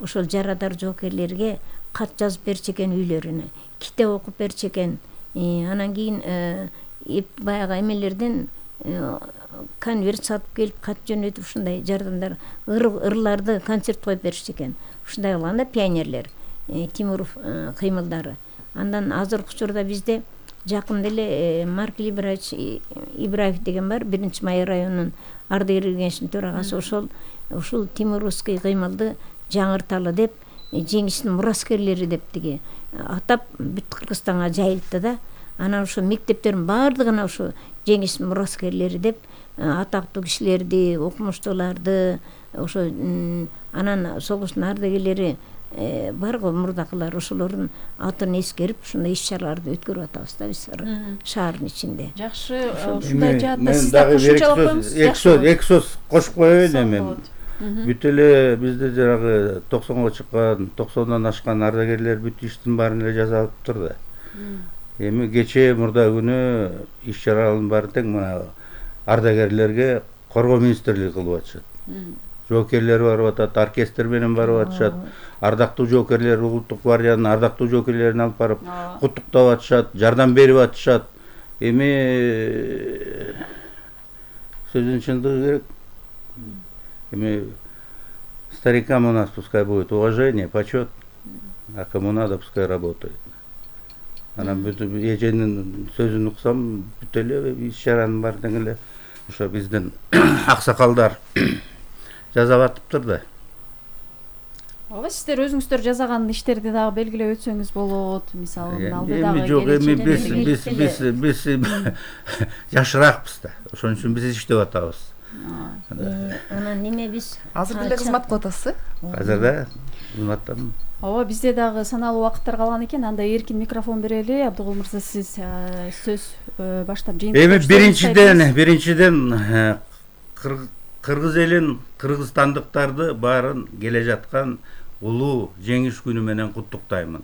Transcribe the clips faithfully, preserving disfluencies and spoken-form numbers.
ошол жарадар жоокерлерге кат жазып берчү экен үйлөрүнө, китеп окуп берчү экен. Анан кийин баягы эмелерден конверт сатып келип кат жөнөтүп ушундай жардамдар ырларды концерт коюп беришти экен. Ушундай кылганда пионерлер Тимуров кыймылдары. Андан азыркы учурда бизде жакында эле Маркел Ибраевич Ибраев деген бар, биринчи Май районунун ардагерлер кеңешинин төрагасы. Ошол ушул Тимуровский кыймылды жаңырталы деп, жеңиштин мураскерлери деп тиги атап бүт Кыргызстанга жайылтты да. Анан ошо мектептердин баардыгына ошо жеңиштин мураскерлери деп атактуу кишилерди, окумуштууларды, ошо анан согуштун ардагерлери бар го мурдакылар, ошолордун атын эскерип ушундай иш-чараларды өткөрүп атабыз да биз шаардын ичинде. Жакшы, ушундай жаатта сиз да кошумчалап коюңуз. Эки сөз, эки сөз кошуп коеюн эми. Бүт эле бизде жанагы токсонго чыккан, токсондон ашкан ардагерлер бүт иштин баарын эле жасалыптыр да. Эми кечээ мурда күнү иш-чаралардын баары тең мына ардагерлерге коргоо министрлиги кылып атышат. Жоокерлер барып атат, оркестр менен барып атышат. Ардактуу жоокерлер улуттук гвардиянын ардактуу жоокерлерин алып барып куттуктап атышат, жардам берип атышат. Эми сөздүн чындыгы керек. Эми старикам у нас пускай будет уважение, почет, а кому надо пускай работает. Анан бүт эженин сөзүн уксам, бүт эле иш-чаранын баары тең эле ошо биздин аксакалдар жасап атыптыр да. Ооба, сиздер өзүңүздөр жасаган иштерди дагы белгилеп өтсөңүз болот. Мисалы, алдыдагы эми жок, эми биз биз биз биз жашыраакпыз да. Ошон үчүн биз иштеп атабыз. Анан неме биз азыр деле кызмат кылып атасыз? Азыр да кызматтамын. Ооба, бизде дагы саналуу убакыттар калган экен. Анда эркин микрофон берели. Абдыгул мырза, сиз сөз баштап жыйынтыктап. Эми биринчиден, биринчиден кыргыз элин, кыргызстандыктарды баарын келе жаткан улуу жеңиш күнү менен куттуктаймын.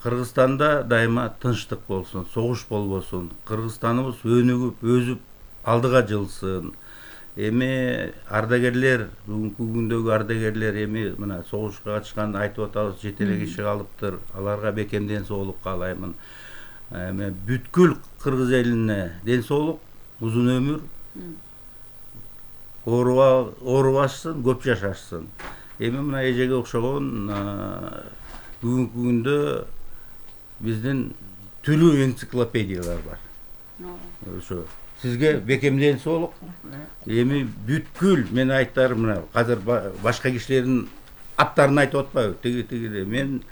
Кыргызстанда дайыма тынчтык болсун, согуш болбосун, Кыргызстаныбыз өнүгүп, өсүп, алдыга жылсын. Эми ардагерлер, бүгүнкү күндөгү ардагерлер эми мына согушка катышкан айтып атабыз, жете эле киши калыптыр. Аларга бекем ден соолук каалаймын. Эми бүткүл кыргыз элине ден соолук, узун өмүр, оорубашсын, көп жашашсын. Эми мына эжеге окшогон бүгүнкү күндө биздин түлүү энциклопедиялар бар. Ошо сизге бекем ден соолук. Эми бүткүл мен айтарым, мына азыр башка кишилердин аттарын айтып атпайбы? Тиги тиги мен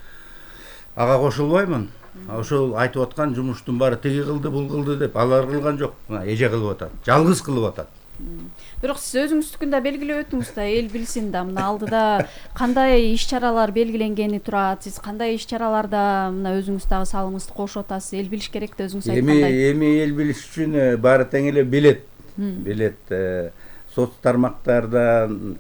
ага кошулбаймын. Ошол айтып аткан жумуштун баары тиги кылды, бул кылды деп алар кылган жок. Мына эже кылып атат. Жалгыз кылып атат. Бирок сиз өзүңүздүкүн да белгилеп өттүңүз да, эл билсин да, мына алдыда кандай иш-чаралар белгиленгени турат, сиз кандай иш-чараларда мына өзүңүз дагы салымыңызды кошуп атасыз, эл билиш керек да, өзүңүз айткандай. Эми эми эл билиш үчүн баары тең эле билет. Билет соц тармактардан,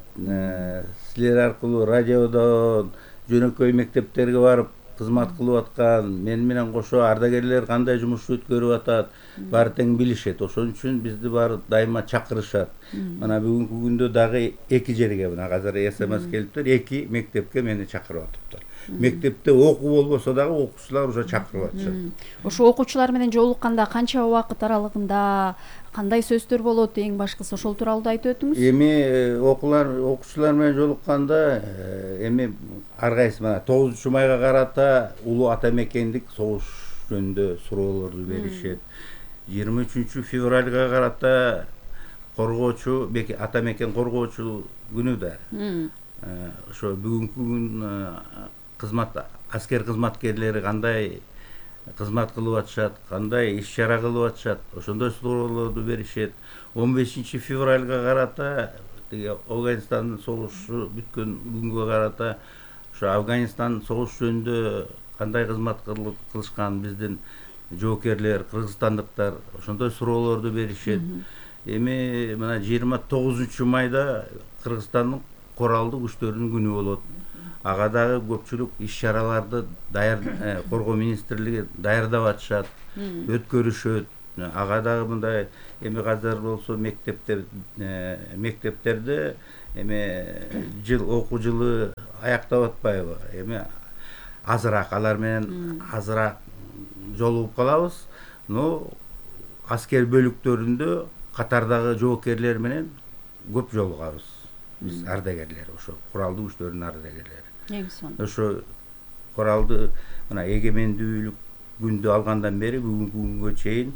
силер аркылуу радиодон, жөнөкөй мектептерге барып кызмат кылып аткан, мен менен кошо ардагерлер кандай жумуш өткөрүп атат, баары тең билишет. Ошон үчүн бизди баары дайыма чакырышат. Мына бүгүнкү күндө дагы эки жерге, мына азыр СМС келиптир, эки мектепке мени чакырып атыптыр. Мектепте окуу болбосо дагы окуучулар уже чакырып атышат. Ошо окуучулар менен жолукканда канча убакыт аралыгында кандай сөздөр болот, эң башкысы ошол тууралуу да айтып өтүңүз. Эми окуулар, окуучулар менен жолукканда эми ар кайсы мына тогузунчу майга карата улуу ата мекендик согуш жөнүндө суроолорду беришет. жыйырма үчүнчү февралга карата коргоочу ата мекен коргоочу күнү да. Ошо бүгүнкү күн кызмат аскер кызматкерлери кандай кызмат кылып атышат, кандай иш-чара кылып атышат, ошондой суроолорду беришет. он бешинчи февралга карата тиги Афганистандын согушу бүткөн күнгө карата ошо Афганистан согуш жөнүндө кандай кызмат кылышкан биздин жоокерлер, кыргызстандыктар ошондой суроолорду беришет. Эми мына жыйырма тогузунчу майда Кыргызстандын коралдуу күчтөрүнүн күнү болот. Ага дагы көпчүлүк иш-чараларды даяр коргоо министрлиги даярдап атышат, өткөрүшөт. Ага дагы мындай эми азыр болсо мектептер мектептерде эми жыл окуу жылы аяктап атпайбы, эми азыраак алар менен азыраак жолугуп калабыз. Но аскер бөлүктөрүндө катардагы жоокерлер менен көп жолугабыз. Биз ардагерлер, ошо куралдуу күчтөрдүн ардагерлери. Эң сонун. Ошо куралды мына эгемендүүлүк күндү алгандан бери бүгүнкү күнгө чейин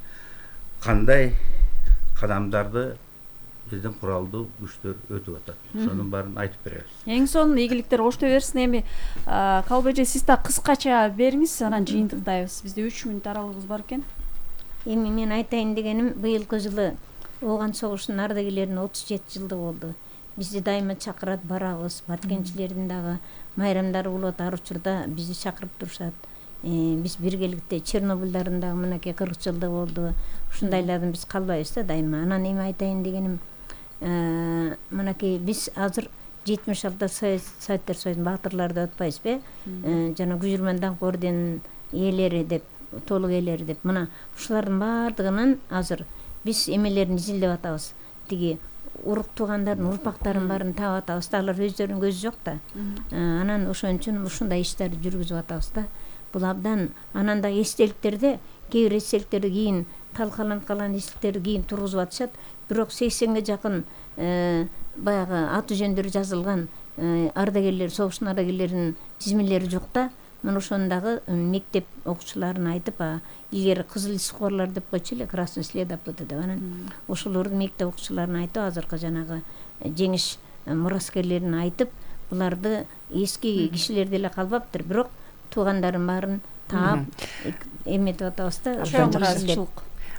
кандай кадамдарды биздин куралдуу күчтөр өтүп атат. Ошонун баарын айтып беребиз. Эң сонун ийгиликтер кошто берсин. Эми Калып эже, сиз да кыскача бериңиз, анан жыйынтыктайбыз. Бизде үч мүнөт аралыгыбыз бар экен. Эми мен айтайын дегеним, быйылкы жылы Ооган согушунун ардагерлеринин отуз жети жылдыгы болду. Бизди дайыма чакырат, барабыз. Баткенчилердин дагы майрамдары болот, ар учурда бизди чакырып турушат. Биз биргеликте Чернобыльдардын дагы мынакей кырк жылдыгы болду. Ушундайлардан биз калбайбыз да дайыма. Анан эми айтайын дегеним, мынакей биз азыр жетимиш алты Советтер Союзунун баатырлары деп атпайбызбы? Жана Күжүрман даңк орденинин ээлери деп, толук ээлери деп. Мына ушулардын баардыгынан азыр биз эмелерин изилдеп атабыз. Тиги урук туугандардын урпактарын баарын таап атабыз да, алар өздөрүнүн көзү жок да. Анан ошон үчүн ушундай иштерди жүргүзүп атабыз да. Бул абдан. Анан да эстеликтерде, кээ бир эстеликтерди кийин талкаланып калган эстеликтерди кийин тургузуп атышат. Бирок сексенге жакын баягы аты жөндөрү жазылган ардагерлер, согуштун ардагерлеринин тизмелери жок да. Мына ошону дагы мектеп окуучуларына айтып, илгери кызыл искорлор деп койчу эле, красный следопыты деп. Анан ошолорду мектеп окуучуларына айтып, азыркы жанагы жеңиш мураскерлерине айтып, буларды эски кишилер деле калбаптыр, бирок туугандарын баарын таап эметип атабыз да.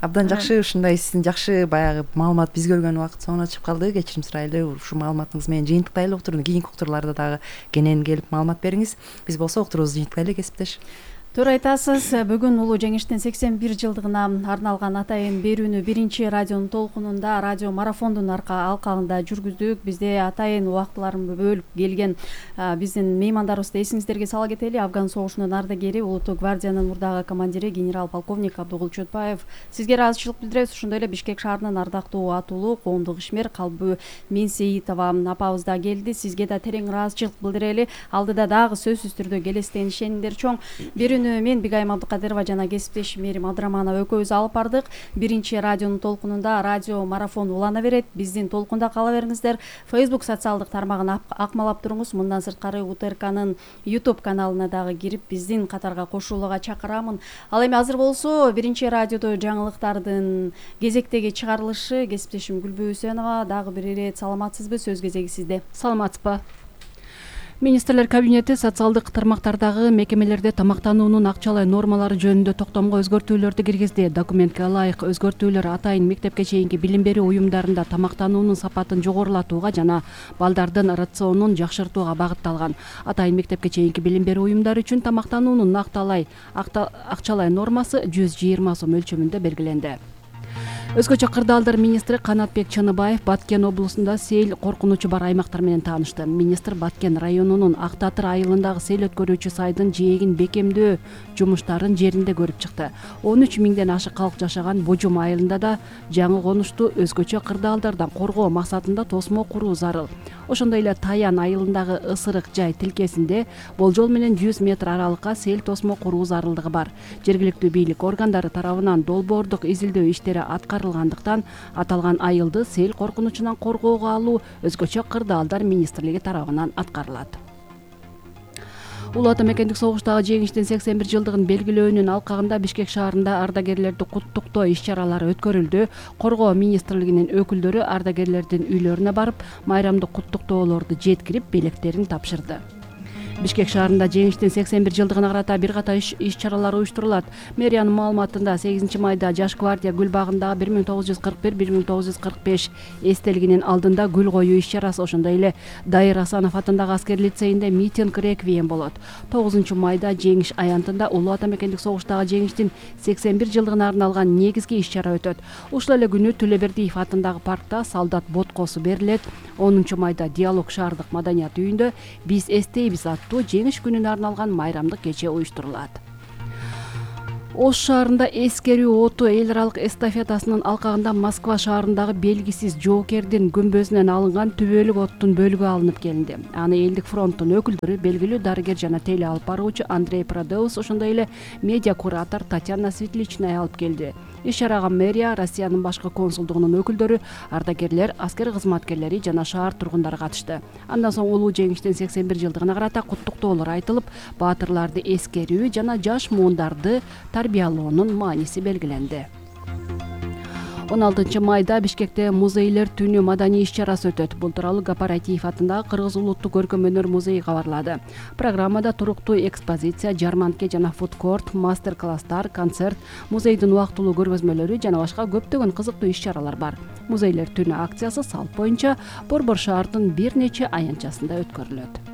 Абдан жакшы, ушундай сиздин жакшы баягы маалымат бизге келген убакыт соңуна чыгып калды. Кечирим сурайлы, ушу маалыматыңыз менен жыйынтыктайлы уктурууну. Кийинки уктурууларда дагы кенен келип маалымат бериңиз. Биз болсо уктуруубузду жыйынтыктайлы, кесиптеш. Туура айтасыз. Бүгүн улуу жеңиштин сексен бир жылдыгына арналган атайын берүүнү биринчи радионун толкунунда, радио марафондун арка алкагында жүргүздүк. Бизде атайын убактыларын бөлүп келген биздин меймандарыбызды эсиңиздерге сала кетели. Афган согушунун ардагери, Улуттук гвардиянын мурдагы командири генерал-полковник Абдыгул Чөтбаев. Сизге ыраазычылык билдиребиз. Ошондой эле Бишкек шаарынын ардактуу атуулу коомдук ишмер Калбы Менсеитова апабыз да келди. Сизге да терең ыраазычылык билдирели. Алдыда дагы сөзсүз түрдө келестен ишениңдер чоң. Мен Бигайым Абдыкадырова жана кесиптешим Мерим Абдыраманова экөөбүз алып бардык. Биринчи радионун толкунунда радио марафон улана берет. Биздин толкунда кала бериңиздер. Facebook социалдык тармагын акмалап туруңуз. Мындан сырткары УТРКнын YouTube каналына дагы кирип биздин катарга кошулууга чакырамын. Ал эми азыр болсо биринчи радиодо жаңылыктардын кезектеги чыгарылышы. Кесиптешим Гүлбү Үсенова дагы бир ирет саламатсызбы? Сөз кезеги сизде. Саламатсызбы? Министрлер кабинети социалдык тармактардагы мекемелерде тамактануунун акчалай нормалары жөнүндө токтомго өзгөртүүлөрдү киргизди. Документке ылайык өзгөртүүлөр атайын мектепке чейинки билим берүү уюмдарында тамактануунун сапатын жогорулатууга жана балдардын рационун жакшыртууга багытталган. Атайын мектепке чейинки билим берүү уюмдары үчүн тамактануунун накталай акчалай нормасы жүз жыйырма сом өлчөмүндө белгиленди. Өзгөчө кырдаалдар министри Канатбек Чаныбаев Баткен облусунда сел коркунучу бар аймактар менен таанышты. Министр Баткен районунун Ак Татыр айылындагы сел өткөрүүчү сайдын жээгин бекемдөө жумуштарын жеринде көрүп чыкты. он үч миңден ашык калк жашаган Божум айылында да жаңы конушту өзгөчө кырдаалдардан коргоо максатында тосмо куруу зарыл. Ошондой эле Таян айылындагы ысырык жай тилкесинде болжол менен жүз метр аралыкка сел тосмо куруу зарылдыгы бар. Жергиликтүү бийлик органдары тарабынан долбоордук изилдөө иштери аткарылгандыктан аталган айылды сел коркунучунан коргоого алуу өзгөчө кырдаалдар министрлиги тарабынан аткарылат. Улуу ата мекендик согуштагы жеңиштин сексен бир жылдыгын белгилөөнүн алкагында Бишкек шаарында ардагерлерди куттуктоо иш-чаралары өткөрүлдү. Коргоо министрлигинин өкүлдөрү ардагерлердин үйлөрүнө барып, майрамдык куттуктоолорду жеткирип, белектерин тапшырды. Бишкек шаарында жеңиштин сексен бир жылдыгына карата бир ката иш-чаралар уюштурулат. Мэриянын маалыматында сегизинчи майда Жаш гвардия гүл багындагы бир миң тогуз жүз кырк бир — бир миң тогуз жүз кырк беш эстелигинин алдында гүл коюу иш-чарасы, ошондой эле Дайыр Асанов атындагы аскер лицейинде митинг реквием болот. тогузунчу майда Жеңиш аянтында улуу ата мекендик согуштагы жеңиштин сексен бир жылдыгына арналган негизги иш-чара өтөт. Ушул эле күнү Төлөбердиев атындагы паркта солдат боткосу берилет. онунчу майда Диалог шаардык маданият үйүндө Биз эстейбиз аттуу жеңиш күнүнө арналган майрамдык кече уюштурулат. Ош шаарында эскерүү оту эл аралык эстафетасынын алкагында Москва шаарындагы белгисиз жоокердин күмбөзүнөн алынган түбөлүк оттун бөлүгү алынып келинди. Аны Элдик фронттун өкүлдөрү, белгилүү дарыгер жана теле алып баруучу Андрей Продеус, ошондой эле медиа куратор Татьяна Светличная алып келди. Иш-чарага мэрия, Россиянын башкы консулдугунун өкүлдөрү, ардагерлер, аскер кызматкерлери жана шаар тургундары катышты. Андан соң улуу жеңиштин сексен бир жылдыгына карата куттуктоолор айтылып, баатырларды эскерүү жана жаш муундарды тарбиялоонун мааниси белгиленди. он алтынчы майда Бишкекте музейлер түнү маданий иш-чарасы өтөт. Бул тууралуу Гапаратиев атындагы Кыргыз улуттук көркөм өнөр музейи кабарлады. Программада туруктуу экспозиция, жарманке жана фудкорт, мастер-класстар, концерт, музейдин убактылуу көргөзмөлөрү жана башка көптөгөн кызыктуу иш-чаралар бар. Музейлер түнү акциясы салт боюнча Борбор шаардын бир нече аянтчасында өткөрүлөт.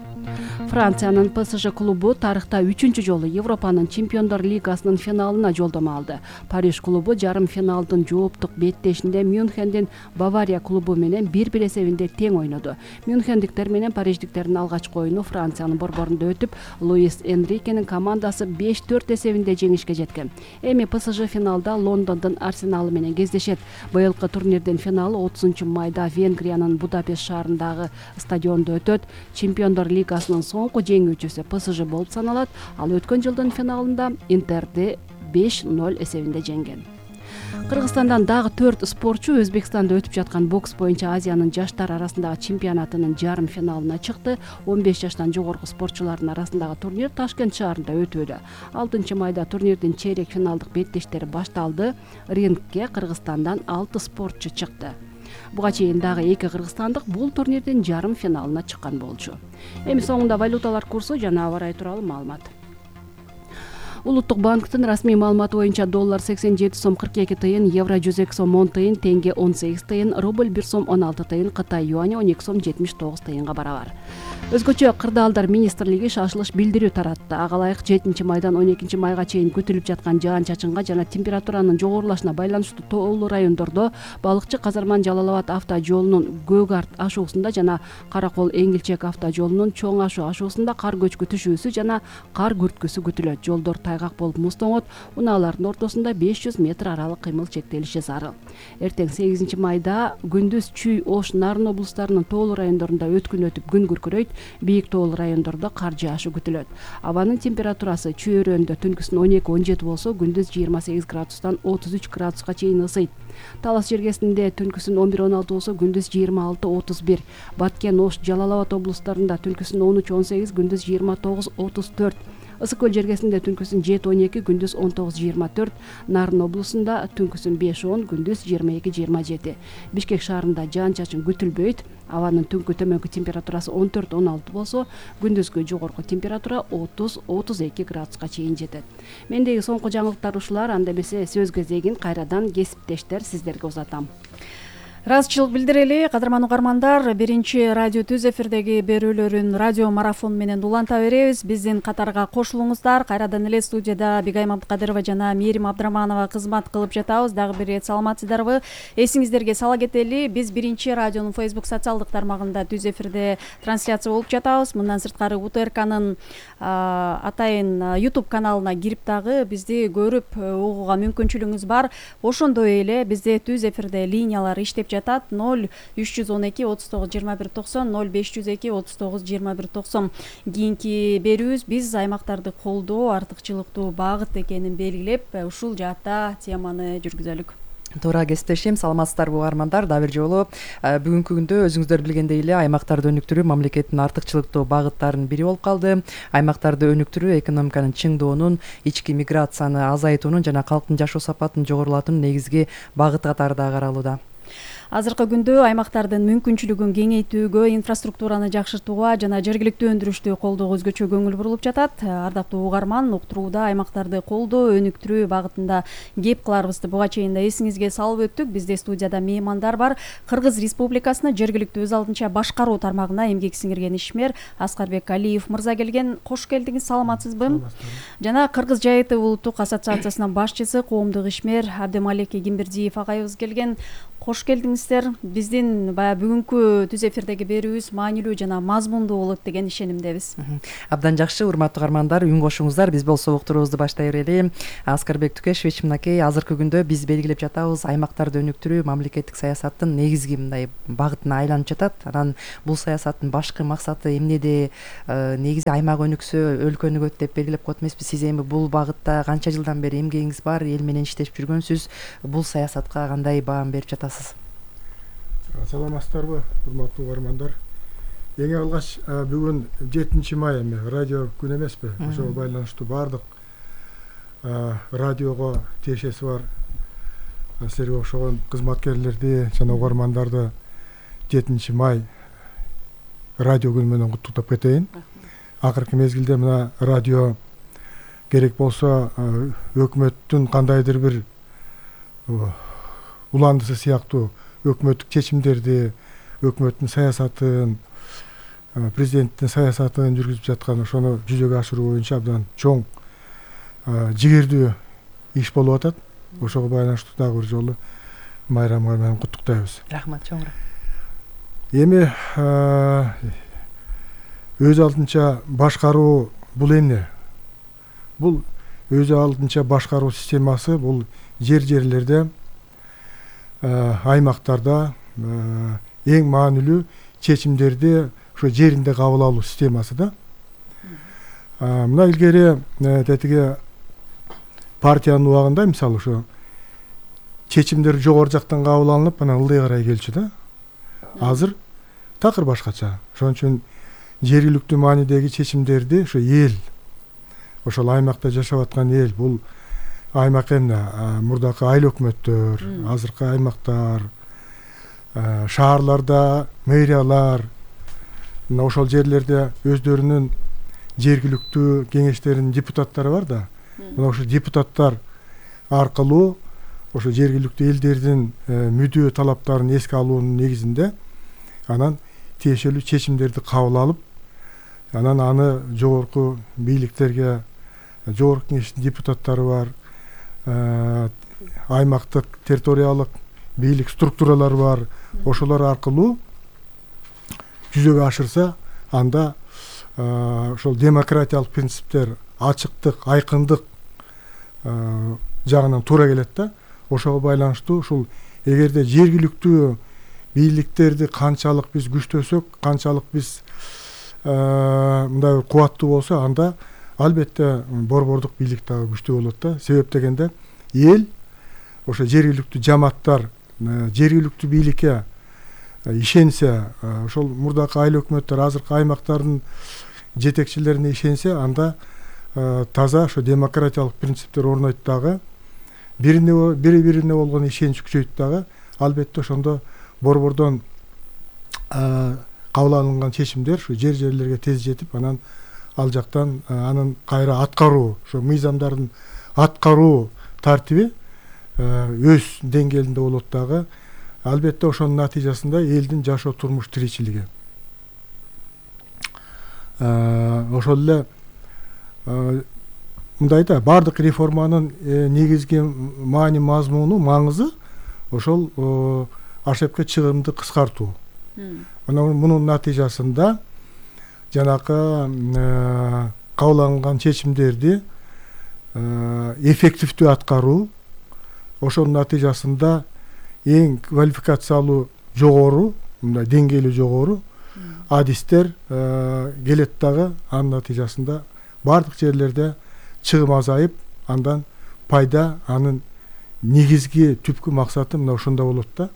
Франциянын Пэ Эс Жэ клубу тарыхта үчүнчү жолу Европанын чемпиондор лигасынын финалына жолдомо алды. Париж клубу жарым финалдын жооптук беттешинде Мюнхендин Бавария клубу менен бир-бир эсебинде тең ойноду. Мюнхендиктер менен париждиктердин алгачкы оюну Франциянын борборунда өтүп, Луис Энрикенин командасы беш төрт эсебинде жеңишке жеткен. Эми Пэ Эс Жэ финалда Лондондун Арсеналы менен кездешет. Быйылкы турнирдин финалы отузунчу майда Венгриянын Будапешт шаарындагы стадиондо өтөт. Чемпиондор лигасынын соңку жеңүүчүсү Пэ Эс Жэ болуп саналат. Ал өткөн жылдын финалында Интерди беш ноль эсебинде жеңген. Кыргызстандан дагы төрт спортчу Өзбекстанда өтүп жаткан бокс боюнча Азиянын жаштар арасындагы чемпионатынын жарым финалына чыкты. он беш жаштан жогорку спортчулардын арасындагы турнир Ташкент шаарында өтүүдө. алтынчы майда турнирдин чейрек финалдык беттештери башталды. Рингке Кыргызстандан алты спортчу чыкты. Буга чейин дагы эки кыргызстандык бул турнирдин жарым финалына чыккан болчу. Эми соңунда валюталар курсу жана аба ырайы тууралуу маалымат. Улуттук банктын расмий маалыматы боюнча доллар сексен жети сом кырк эки тыйын, евро жүз эки сом он тыйын, тенге он сегиз тыйын, рубль бир сом он алты тыйын, Кытай юани он эки сом жетимиш тогуз тыйынга барабар. Өзгөчө Кырдаалдар министрлиги шашылыш билдирүү таратты. Ага ылайык жетинчи майдан он экинчи майга чейин күтүлүп жаткан жаан-чачынга жана температуранын жогорулашына байланыштуу тоолуу райондордо Балыкчы Казарман Жалал Абад автожолунун Көк Арт ашуусунда жана Каракол Эңилчек автожолунун Чоң Ашу ашуусунда кар көчкү түшүүсү жана кар күрткүсү күтүлөт. Жолдор тайгак болуп муздоңот, унаалардын ортосунда беш жүз метр аралык кыймыл чектелиши зарыл. Эртең сегизинчи майда күндүз Чүй, Ош, Нарын облустарынын тоолуу райондорунда өткүн өтүп күн күркүрөйт, бийик тоолуу райондордо кар жаашы күтүлөт. Абанын температурасы Чүй өрөөндө түнкүсүн он эки он жети болсо, күндүз жыйырма сегиз градустан отуз үч градуска чейин ысыйт. Талас жергесинде түнкүсүн он бир он алты болсо, күндүз жыйырма алты отуз бир. Баткен, Ош, Жалал Абад облустарында түнкүсүн он үч он сегиз, күндүз жыйырма тогуз отуз төрт. Ысык көл жергесинде түнкүсүн жети он эки, күндүз он тогуз жыйырма төрт. Нарын облусунда түнкүсүн беш он, күндүз жыйырма эки жыйырма жети. Бишкек шаарында жаан-чачын күтүлбөйт. Абанын түнкү төмөнкү температурасы он төрт он алты болсо, күндүзгү жогорку температура отуз отуз эки градуска чейин жетет. Мендеги соңку жаңылыктар ушулар. Анда эмесе сөз кезегин кайрадан кесиптештер сиздерге узатам. Ыраазычылык билдирели, кадырман угармандар. Биринчи радио түз эфирдеги берүүлөрүн радио марафон менен уланта беребиз. Биздин катарга кошулуңуздар. Кайрадан эле студияда Бигайым Абдыкадырова жана Мээрим Абдыраманова кызмат кылып жатабыз. Дагы бир ирет саламатсыздарбы? Эсиңиздерге сала кетели, биз биринчи радионун Facebook социалдык тармагында түз эфирде трансляция болуп жатабыз. Мындан сырткары У Т Р К'нын атайын YouTube каналына кирип дагы бизди көрүп угууга мүмкүнчүлүгүңүз бар. Ошондой эле бизде түз эфирде линиялар иштеп жатат. ноль үч жүз он эки отуз тогуз жыйырма бир токсон, ноль беш жүз эки отуз тогуз жыйырма бир токсон. Кийинки берүүбүз биз аймактарды колдоо артыкчылыктуу багыт экенин белгилеп, ушул жаатта теманы жүргүзөлүк. Туура кесиптешим, саламатсыздарбы угармандар? Дагы бир жолу бүгүнкү күндө өзүңүздөр билгендей эле аймактарды өнүктүрүү мамлекеттин артыкчылыктуу багыттарынын бири болуп калды. Аймактарды өнүктүрүү экономиканын чыңдоонун, ички миграцияны азайтуунун жана калктын жашоо сапатын жогорулатуунун негизги багыты катары да каралууда. Азыркы күндө аймактардын мүмкүнчүлүгүн кеңейтүүгө, инфраструктураны жакшыртууга жана жергиликтүү өндүрүштү колдоого өзгөчө көңүл бурулуп жатат. Ардактуу угарман, уктурууда аймактарды колдоо, өнүктүрүү багытында кеп кыларыбызды буга чейин да эсиңизге салып өттүк. Бизде студияда меймандар бар. Кыргыз Республикасынын жергиликтүү өз алдынча башкаруу тармагына эмгек сиңирген ишмер Аскарбек Алиев мырза келген. Кош келдиңиз, саламатсызбы? Жана Кыргыз Жайыты улуттук ассоциациясынын башчысы, коомдук ишмер Абдемалек Кимбердиев агайыбыз келген. кош келдиңиздер. Биздин баягы бүгүнкү түз эфирдеги берүүбүз маанилүү жана мазмундуу болот деген ишенимдебиз. Абдан жакшы, урматтуу каармандар, үн кошуңуздар. Биз болсо уктуруубузду баштай берели. Аскарбек Түкешевич, мынакей азыркы күндө биз белгилеп жатабыз, аймактарды өнүктүрүү мамлекеттик саясаттын негизги мындай багытына айланып жатат. Анан бул саясаттын башкы максаты эмнеде? Негизи аймак өнүксө өлкө өнүгөт деп белгилеп коет эмеспиз. Сиз эми бул багытта канча жылдан бери эмгегиңиз бар, эл менен иштешип жүргөнсүз. Бул саясатка кандай баам берип жатасыз? Саламатсыздарбы, урматтуу каармандар. Эң алгач бүгүн жетинчи май эми радио күнү эмеспи? Ошого байланыштуу баардык радиого тиешеси бар силерге окшогон кызматкерлерди жана угармандарды жетинчи май радио күнү менен куттуктап кетейин. Акыркы мезгилде мына радио керек болсо өкмөттүн кандайдыр бир уландысы сыяктуу өкмөттүк чечимдерди, өкмөттүн саясатын, президенттин саясатын жүргүзүп жаткан ошону жүзөгө ашыруу боюнча абдан чоң жигердүү иш болуп атат. Ошого байланыштуу дагы бир жолу майрамга менен куттуктайбыз. Рахмат, чоң рахмат. Эми өз алдынча башкаруу бул эмне? Бул өз алдынча башкаруу системасы бул жер-жерлерде, аймактарда эң маанилүү чечимдерди ошо жеринде кабыл алуу системасы да. Мына илгери тетиги партиянын убагында мисалы ошо чечимдер жогору жактан кабыл алынып, анан ылдый карай келчү да. Азыр такыр башкача. Ошон үчүн жергиликтүү маанидеги чечимдерди ошо эл, ошол аймакта жашап аткан эл, бул аймак эмне? Мурдакы айыл өкмөттөр, азыркы аймактар, шаарларда мэриялар, мына ошол жерлерде өздөрүнүн жергиликтүү кеңештеринин депутаттары бар да. Мына ошо депутаттар аркылуу ошо жергиликтүү элдердин мүдөө талаптарын эске алуунун негизинде анан тиешелүү чечимдерди кабыл алып, анан аны жогорку бийликтерге, жогорку кеңештин депутаттары бар, аймактык территориялык бийлик структуралары бар, ошолор аркылуу жүзөгө ашырса, анда ошол демократиялык принциптер, ачыктык, айкындык жагынан туура келет да. Ошого байланыштуу ушул эгерде жергиликтүү бийликтерди канчалык биз күчтөсөк, канчалык биз мындай бир кубаттуу болсо, анда албетте борбордук бийлик дагы күчтүү болот да. Себеп дегенде эл, ошо жергиликтүү жамааттар жергиликтүү бийликке ишенсе, ошол мурдакы айыл өкмөттөр, азыркы аймактардын жетекчилерине ишенсе, анда таза ошо демократиялык принциптер орнойт дагы, бирине бири-бирине болгон ишенич күчөйт дагы. Албетте ошондо борбордон кабыл алынган чечимдер ушу жер-жерлерге тез жетип, анан ал жактан анын кайра аткаруу, ошо мыйзамдардын аткаруу тартиби өз деңгээлинде болот дагы. Албетте ошонун натыйжасында элдин жашоо турмуш тиричилиги. Ошол эле мындай да, бардык реформанын негизги маани мазмуну, маңызы ошол ашепке чыгымды кыскартуу. Анан мунун натыйжасында жанакы кабыл алынган чечимдерди эффективдүү аткаруу, ошонун натыйжасында эң квалификациялуу жогору, мындай деңгээли жогору адистер келет дагы. Анын натыйжасында бардык жерлерде чыгым азайып, андан пайда, анын негизги түпкү максаты мына ошондо болот да.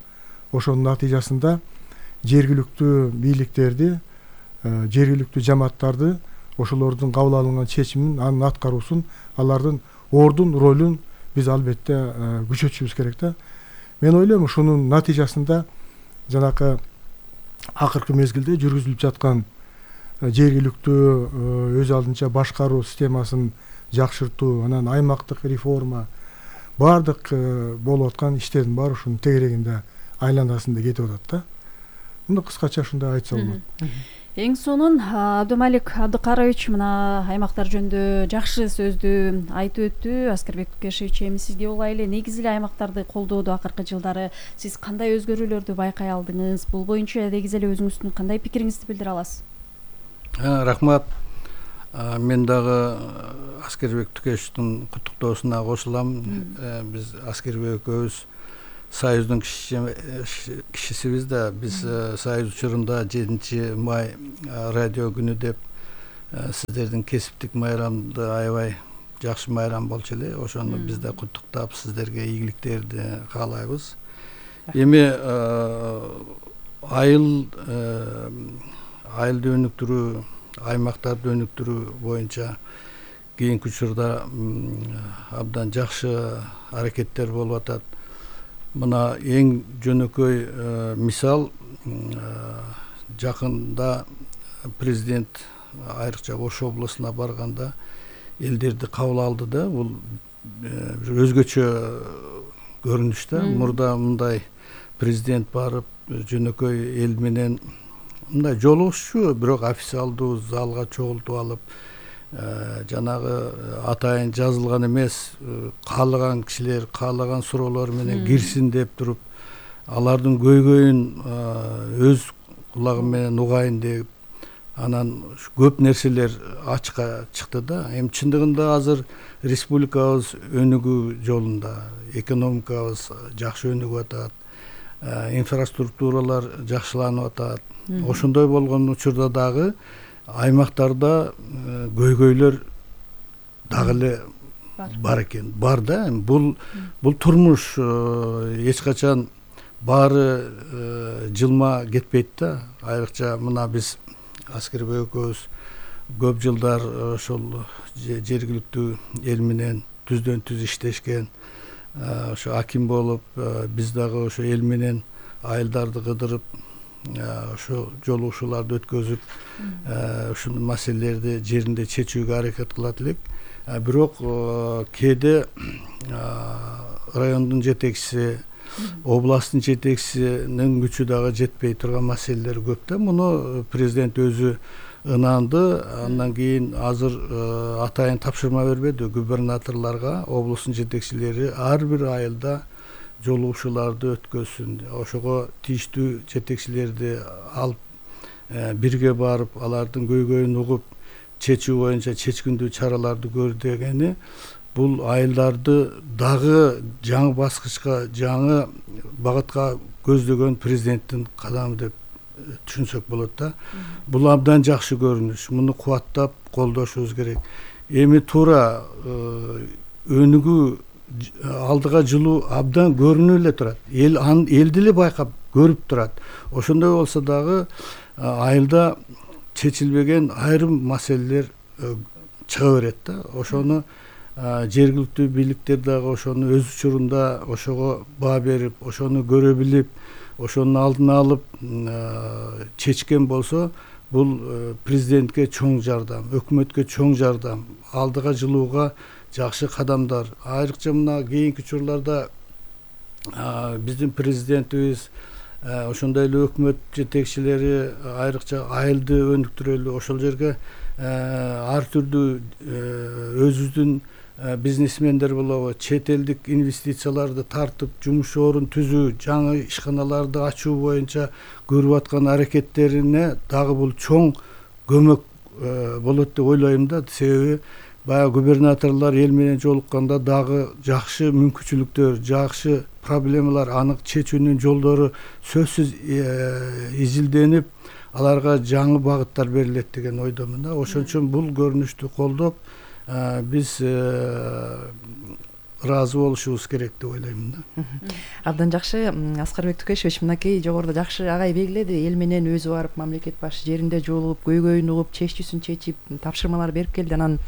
Ошонун натыйжасында жергиликтүү бийликтерди, жергиликтүү жамааттарды, ошолордун кабыл алынган чечимин, анын аткаруусун, алардын ордун, ролун биз албетте күчөтүшүбүз керек да. Мен ойлойм, ушунун натыйжасында жанакы акыркы мезгилде жүргүзүлүп жаткан жергиликтүү өз алдынча башкаруу системасын жакшыртуу, анан аймактык реформа, бардык болуп аткан иштердин баары ушунун тегерегинде, айланасында кетип атат да. Мына кыскача ушундай айтса болот. Эң сонун Абдымалик Абдыкарович мына аймактар жөнүндө жакшы сөздү айтып өттү. Аскербек Тукешевич, эми сизге улайлы. Негизи эле аймактарды колдоодо акыркы жылдары сиз кандай өзгөрүүлөрдү байкай алдыңыз? Бул боюнча негизи эле өзүңүздүн кандай пикириңизди билдире аласыз? Рахмат. Мен дагы Аскербек Тукешевичтин куттуктоосуна кошулам. Биз Аскербек экөөбүз Союздун кишисибиз да. Биз Союз учурунда жетинчи май радио күнү деп сиздердин кесиптик майрамды аябай жакшы майрам болчу эле. Ошону биз да куттуктап сиздерге ийгиликтерди каалайбыз. Эми айыл айылды өнүктүрүү, аймактарды өнүктүрүү боюнча кийинки учурда абдан жакшы аракеттер болуп атат. Мына эң жөнөкөй мисал, жакында президент айрыкча Ош облусуна барганда элдерди кабыл алды да. Бул өзгөчө көрүнүш да. Мурда мындай президент барып жөнөкөй эл менен мындай жолугушчу, бирок официалдуу залга чогултуп алып, жанагы атайын жазылган эмес, каалаган кишилер каалаган суроолор менен кирсин деп туруп, алардын көйгөйүн өз кулагы менен угайын деп, анан көп нерселер ачыкка чыкты да. Эми чындыгында азыр республикабыз өнүгүү жолунда, экономикабыз жакшы өнүгүп атат, инфраструктуралар жакшыланып атат. Ошондой болгон учурда дагы аймактарда көйгөйлөр дагы эле бар экен. Бар да. Бул бул турмуш, эч качан баары жылма кетпейт да. Айрыкча мына биз Аскербек экөөбүз көп жылдар ошол жергиликтүү эл менен түздөн түз иштешкен, ошо аким болуп, биз дагы ошо эл менен айылдарды кыдырып, ошо жолугушууларды өткөзүп, ушул маселелерди жеринде чечүүгө аракет кылат элек. Бирок кээде райондун жетекчиси, областтын жетекчисинин күчү дагы жетпей турган маселелер көп да. Муну президент өзү ынанды. Андан кийин азыр атайын тапшырма бербеди губернаторлорго, областтын жетекчилери ар бир айылда жолугушууларды өткөзсүн. Ошого тийиштүү жетекчилерди алып бирге барып, алардын көйгөйүн угуп, чечүү боюнча чечкиндүү чараларды көр дегени бул айылдарды дагы жаңы баскычка, жаңы багытка көздөгөн президенттин кадамы деп түшүнсөк болот да. Бул абдан жакшы көрүнүш. Муну кубаттап колдошубуз керек. Эми туура өнүгүү, алдыга жылуу абдан көрүнүп эле турат. Эл элди эле байкап көрүп турат. Ошондой болсо дагы айылда чечилбеген айрым маселелер чыга берет да. Ошону жергиликтүү бийликтер дагы ошону өз учурунда ошого баа берип, ошону көрө билип, ошонун алдын алып чечкен болсо, бул президентке чоң жардам, өкмөткө чоң жардам, алдыга жылууга жакшы кадамдар. Айрыкча мына кийинки учурларда биздин президентибиз, ошондой эле өкмөт жетекчилери айрыкча айылды өнүктүрөлү, ошол жерге ар түрдүү өзүбүздүн бизнесмендер болобу, чет элдик инвестицияларды тартып, жумуш орун түзүү, жаңы ишканаларды ачуу боюнча көрүп аткан аракеттерине дагы бул чоң көмөк болот деп ойлойм да. Себеби баягы губернаторлор эл менен жолукканда дагы жакшы мүмкүнчүлүктөр, жакшы проблемалар, анык чечүүнүн жолдору сөзсүз изилденип, аларга жаңы багыттар берилет деген ойдомун да. Ошон үчүн бул көрүнүштү колдоп, биз ыраазы болушубуз керек деп ойлойм да. Абдан жакшы. Аскербек Тукешевич мынакей жогоруда жакшы агай белгиледи. Эл менен өзү барып, мамлекет башы жеринде жолугуп, көйгөйүн угуп, чечүүсүн чечип, тапшырмалар берип келди. Анан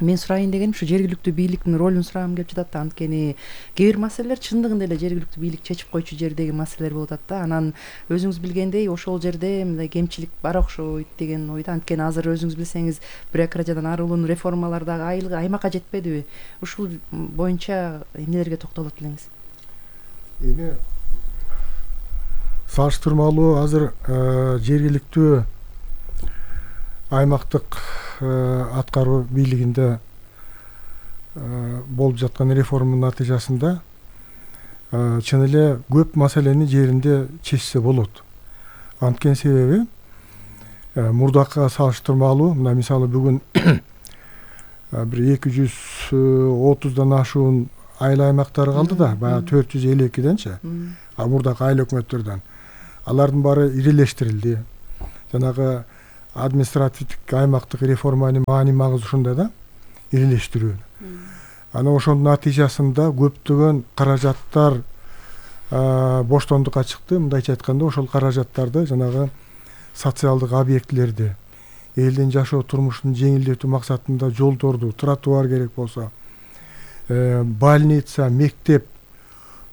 мен сурайын дегеним ушу жергиликтүү бийликтин ролун сурагым келип жатат да. Анткени кээ бир маселелер чындыгында эле жергиликтүү бийлик чечип койчу жердеги маселелер болуп атат да. Анан өзүңүз билгендей ошол жерде мындай кемчилик бар окшойт деген ойдо. Анткени азыр өзүңүз билсеңиз, бюрократиядан арылуунун реформалары дагы айылга, аймакка жетпедиби? Ушул боюнча эмнелерге токтолот элеңиз? Эми салыштырмалуу азыр жергиликтүү аймактык аткаруу бийлигинде болуп жаткан реформанын натыйжасында чын эле көп маселени жеринде чечсе болот. Анткени себеби мурдакка салыштырмалуу, мына мисалы бүгүн бир эки жүз отуздан ашуун айыл аймактары калды да, баягы төрт жүз элүү экиденчи, а мурдакы айыл өкмөттөрдөн. Алардын баары ирелештирилди. Жанагы административдик аймактык реформанын маани магызы ушунда да, ирелештирүү. Анан ошонун натыйжасында көптөгөн каражаттар боштондукка чыкты. Мындайча айтканда, ошол каражаттарды жанагы социалдык объектилерди, элдин жашоо турмушун жеңилдетүү максатында жолдорду, тротуар керек болсо, больница, мектеп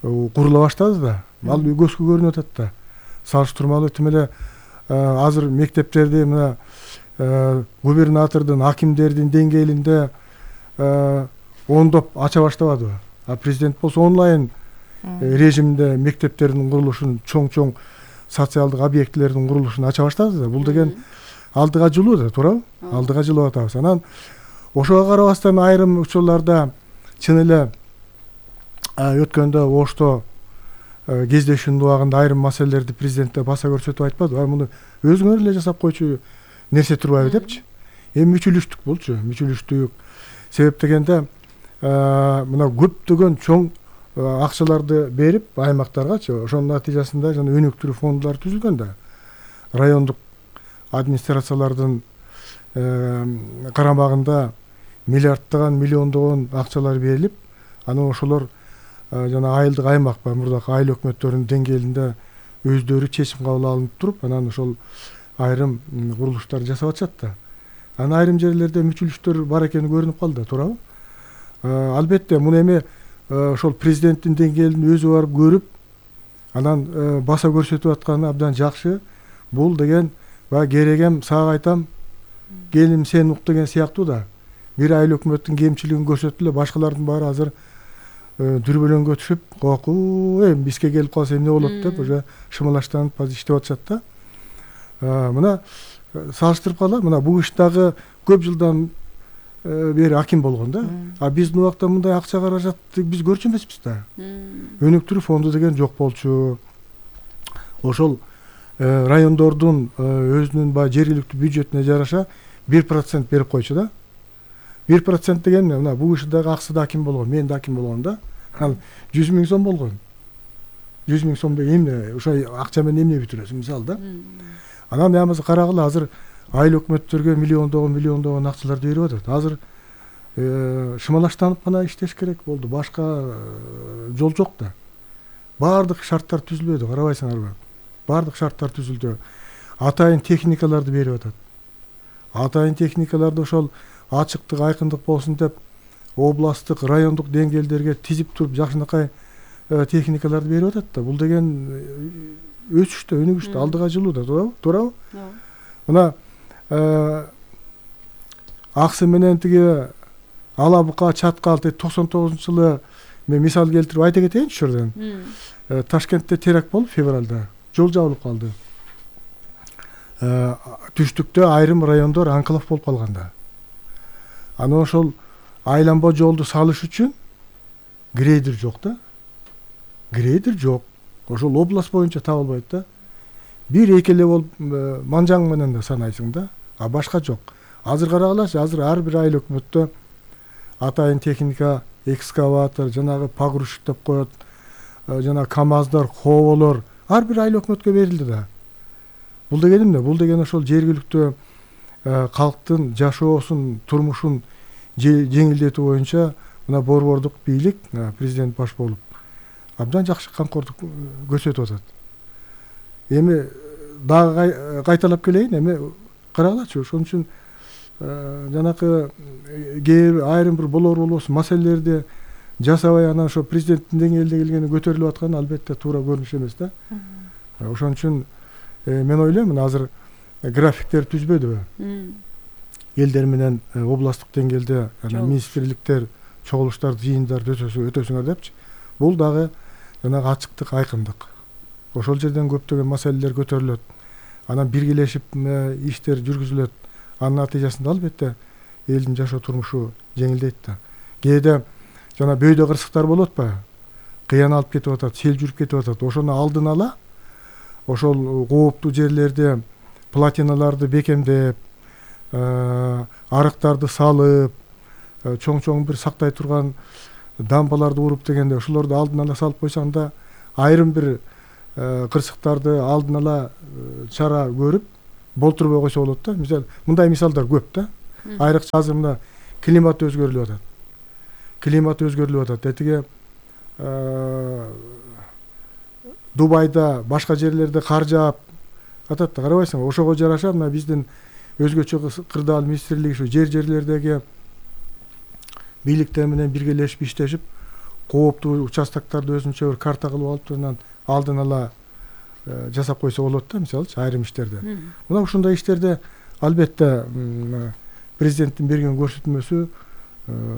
курула баштады да. Ал көзгө көрүнүп атат да. Салыштырмалуу тим эле азыр мектептерди мына губернатордун, акимдердин деңгээлинде ондоп ача баштабадыбы? А президент болсо онлайн режимде мектептердин курулушун, чоң-чоң социалдык объектилердин курулушун ача баштады да. Бул деген алдыга жылуу да, туурабы? Алдыга жылып атабыз. Анан ошого карабастан айрым учурларда чын эле өткөндө Ошто кездешүүнүн убагында айрым маселелерди президентте баса көрсөтүп айтпадыбы? Муну өзүңөр эле жасап койчу нерсе турбайбы депчи. Эми мүчүлүштүк болчу, мүчүлүштүк. Себеп дегенде мына көптөгөн чоң акчаларды берип аймактаргачы, ошонун натыйжасында жана өнүктүрүү фондулары түзүлгөн да. Райондук администрациялардын карамагында миллиарддаган, миллиондогон акчалар берилип, анан ошолор жана айылдык аймак ба, мурдакы айыл өкмөттөрүнүн деңгээлинде өздөрү чечим кабыл алынып туруп, анан ошол айрым курулуштарды жасап атышат да. Анан айрым жерлерде мүчүлүштөр бар экени көрүнүп калды, туурабы? Албетте, муну эми ошол президенттин деңгээлинде өзү барып көрүп, анан баса көрсөтүп атканы абдан жакшы. Бул деген баягы керегем сага айтам, келим сен ук деген сыяктуу да. Бир айыл өкмөттүн кемчилигин көрсөтүп эле башкалардын баары азыр дүрбөлөңгө түшүп, коку, эми бизге келип калса эмне болот деп уже шымалаштанып азыр иштеп атышат да. Мына салыштырып кала, мына бул иштагы көп жылдан бери аким болгон да. А биздин убакта мындай акча каражатты биз көрчү эмеспиз да. Өнүктүрүү фонду деген жок болчу. Ошол райондордун өзүнүн баягы жергиликтүү бюджетине жараша бир процент берип койчу да. бир процент деген мына бул ишдагы аксы да аким болгон, мен да аким болгон да. Ал жүз миң сом болгон. жүз миң сом деген эмне? Ошо акча менен эмне бүтүрөсүң мисалы да. Анан ямасы карагыла, азыр айыл өкмөттөргө миллиондогон миллиондогон акчаларды берип атат. Азыр шымалаштанып гана иштеш керек болду. Башка жол жок да. Баардык шарттар түзүлбөдү, карабайсыңарбы? Баардык шарттар түзүлдү. Атайын техникаларды берип атат. Атайын техникаларды ошол ачыктык, айкындык болсун деп областтык, райондук деңгээлдерге тизип туруп жакшынакай техникаларды берип атат да. Бул деген өсүштө, өнүгүштө, алдыга жылуу да, туурабы? Мына аксы менен тиги ала бука, чаткал токсон тогузунчу жылы мен мисал келтирип айта кетейинчи ошол жерден. Ташкентте теракт болуп февралда жол жабылып калды. Түштүктө айрым райондор анклав болуп калган да. Анан ошол айланба жолду салыш үчүн грейдер жок да. Грейдер жок. Ошол область боюнча табылбайт да. Бир эки эле болуп манжаң менен да санайсың да, а башка жок. Азыр карагылачы, азыр ар бир айыл өкмөттө атайын техника, экскаватор, жанагы погрузчик деп коет, жана КАМАЗдар, хоболор ар бир айыл өкмөткө берилди да. Бул деген эмне? Бул деген ошол жергиликтүү калктын жашоосун, турмушун жеңилдетүү боюнча мына борбордук бийлик, президент баш болуп абдан жакшы камкордук көрсөтүп атат. Эми дагы кайталап келейин, эми карагылачы, ошон үчүн жанакы айрым бир болор болбосун маселелерди жасабай анан ошо президенттин деңгээлинде келгени көтөрүлүп атканы албетте туура көрүнүш эмес да. Ошон үчүн мен ойлойм, мына азыр графиктер түзбөдүбү? Элдер менен областтык деңгээлде министрликтер чогулуштар, жыйындарды өтөсүңөр депчи. Бул дагы жанагы ачыктык, айкындык. Ошол жерден көптөгөн маселелер көтөрүлөт. Анан биргелешип иштер жүргүзүлөт. анын натыйжасында албетте элдин жашоо турмушу жеңилдейт да. Кээде жана бөйдө кырсыктар болот атпайбы, кыян алып кетип атат, сел жүрүп кетип атат, ошону алдын ала ошол кооптуу жерлерде платиналарды бекемдеп, арыктарды салып, чоң-чоң бир сактай турган дамбаларды уруп дегенде ошолорду алдын ала салып койсоң да айрым бир кырсыктарды алдын ала чара көрүп болтурбой койсо болот да. Мисалы мындай мисалдар көп да. Айрыкча азыр мына климат өзгөрүлүп атат. Климат өзгөрүлүп атат. Этиге Дубайда, башка жерлерде кар жаап атат да, карабайсыңбы? Ошого жараша мына биздин өзгөчө кырдаал министрлиги ушу жер-жерлердеги бийликтер менен биргелешип иштешип, кооптуу участокторду өзүнчө бир карта кылып алып, анан алдын ала жасап койсо болот да, мисалычы айрым иштерде. Мына ушундай иштерде албетте президенттин берген көрсөтмөсү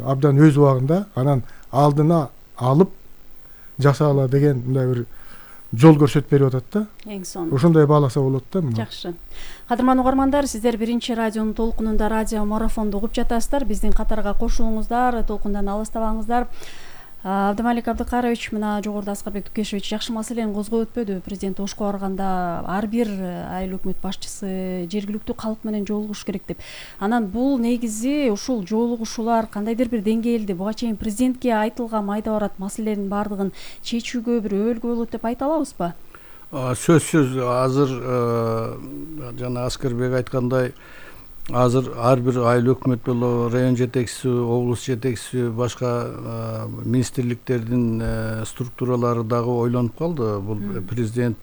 абдан өз убагында, анан алдына алып жасала деген мындай бир жол көрсөтүп берип атат да. Эң сонун. Ошондой бааласа болот да. Жакшы. Кадырман угармандар, сиздер биринчи радионун толкунунда радио марафонду угуп жатасыздар. Биздин катарга кошулуңуздар, толкундан алыстабаңыздар. Абдымалик Абдыкарович мына жогоруда Аскарбек Тукешевич жакшы маселени козгоп өтпөдү. Президент Ошко барганда ар бир айыл өкмөт башчысы жергиликтүү калк менен жолугуш керек деп. Анан бул негизи ушул жолугушуулар кандайдыр бир деңгээлде буга чейин президентке айтылган майда барат маселенин баардыгын чечүүгө бир өбөлгө болот деп айта алабызбы? Сөзсүз азыр жана Аскарбек айткандай, азыр ар бир айыл өкмөт болобу, район жетекчиси, облус жетекчиси, башка министрликтердин структуралары дагы ойлонуп калды. Бул президент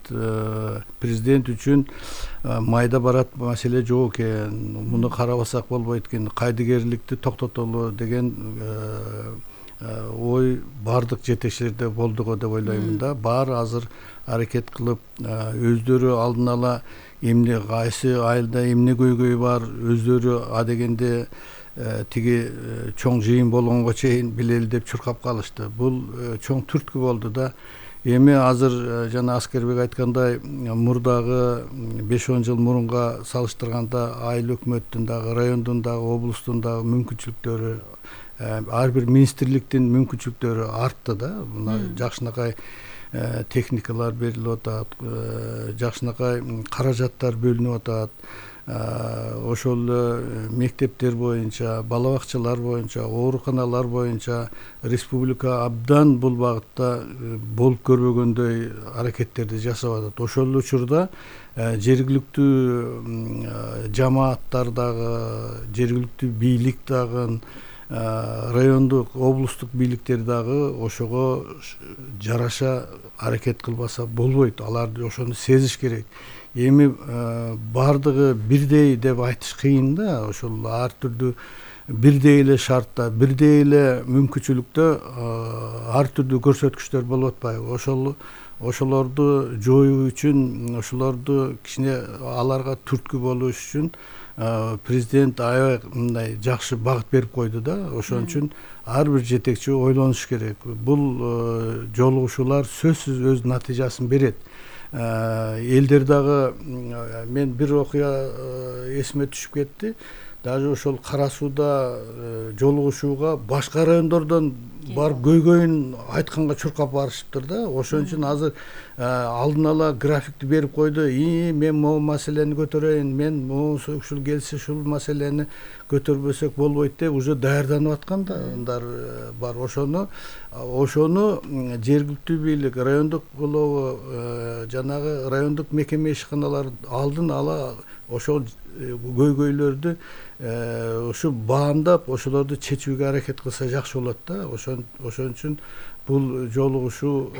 президент үчүн майда барат маселе жок экен, муну карабасак болбойт экен, кайдыгерликти токтотолу деген ой бардык жетекчилерде болду го деп ойлоймун да. Баары азыр аракет кылып, өздөрү алдын ала эмне кайсы айылда эмне көйгөй бар, өздөрү а дегенде тиги чоң жыйын болгонго чейин билели деп чуркап калышты. Бул чоң түрткү болду да. Эми азыр жана Аскербек айткандай, мурдагы беш он жыл мурунга салыштырганда айыл өкмөттүн дагы, райондун дагы, облустун дагы мүмкүнчүлүктөрү, ар бир министрликтин мүмкүнчүлүктөрү артты да. Мына жакшынакай техникалар берилип атат, жакшынакай каражаттар бөлүнүп атат. Ошол мектептер боюнча, бала бакчалар боюнча, ооруканалар боюнча республика абдан бул багытта болуп көрбөгөндөй аракеттерди жасап атат. Ошол учурда жергиликтүү жамааттар дагы, жергиликтүү бийлик дагы, райондук, облустук бийликтер дагы ошого жараша аракет кылбаса болбойт. Алар ошону сезиш керек. Эми бардыгы бирдей деп айтыш кыйын да. Ошол ар түрдүү бирдей эле шартта, бирдей эле мүмкүнчүлүктө ар түрдүү көрсөткүчтөр болуп атпайбы? Ошол ошолорду жоюу үчүн, ошолорду кичине аларга түрткү болуш үчүн президент аябай мындай жакшы багыт берип койду да. Ошон үчүн ар бир жетекчи ойлонуш керек. Бул жолугушуулар сөзсүз өз натыйжасын берет. Элдер дагы, мен бир окуя эсиме түшүп кетти. Даже ошол Кара Сууда жолугушууга башка райондордон барып көйгөйүн айтканга чуркап барышыптыр да. Ошон үчүн азыр алдын ала графикти берип койду. И мен могу маселени көтөрөйүн, мен могу ушул келсе ушул маселени көтөрбөсөк болбойт деп уже даярданып аткандар бар. Ошону ошону жергиликтүү бийлик, райондук болобу, жанагы райондук мекеме ишканалар алдын ала ошол көйгөйлөрдү ушу баамдап, ошолорду чечүүгө аракет кылса жакшы болот да. Ошон ошон үчүн бул жолугушуу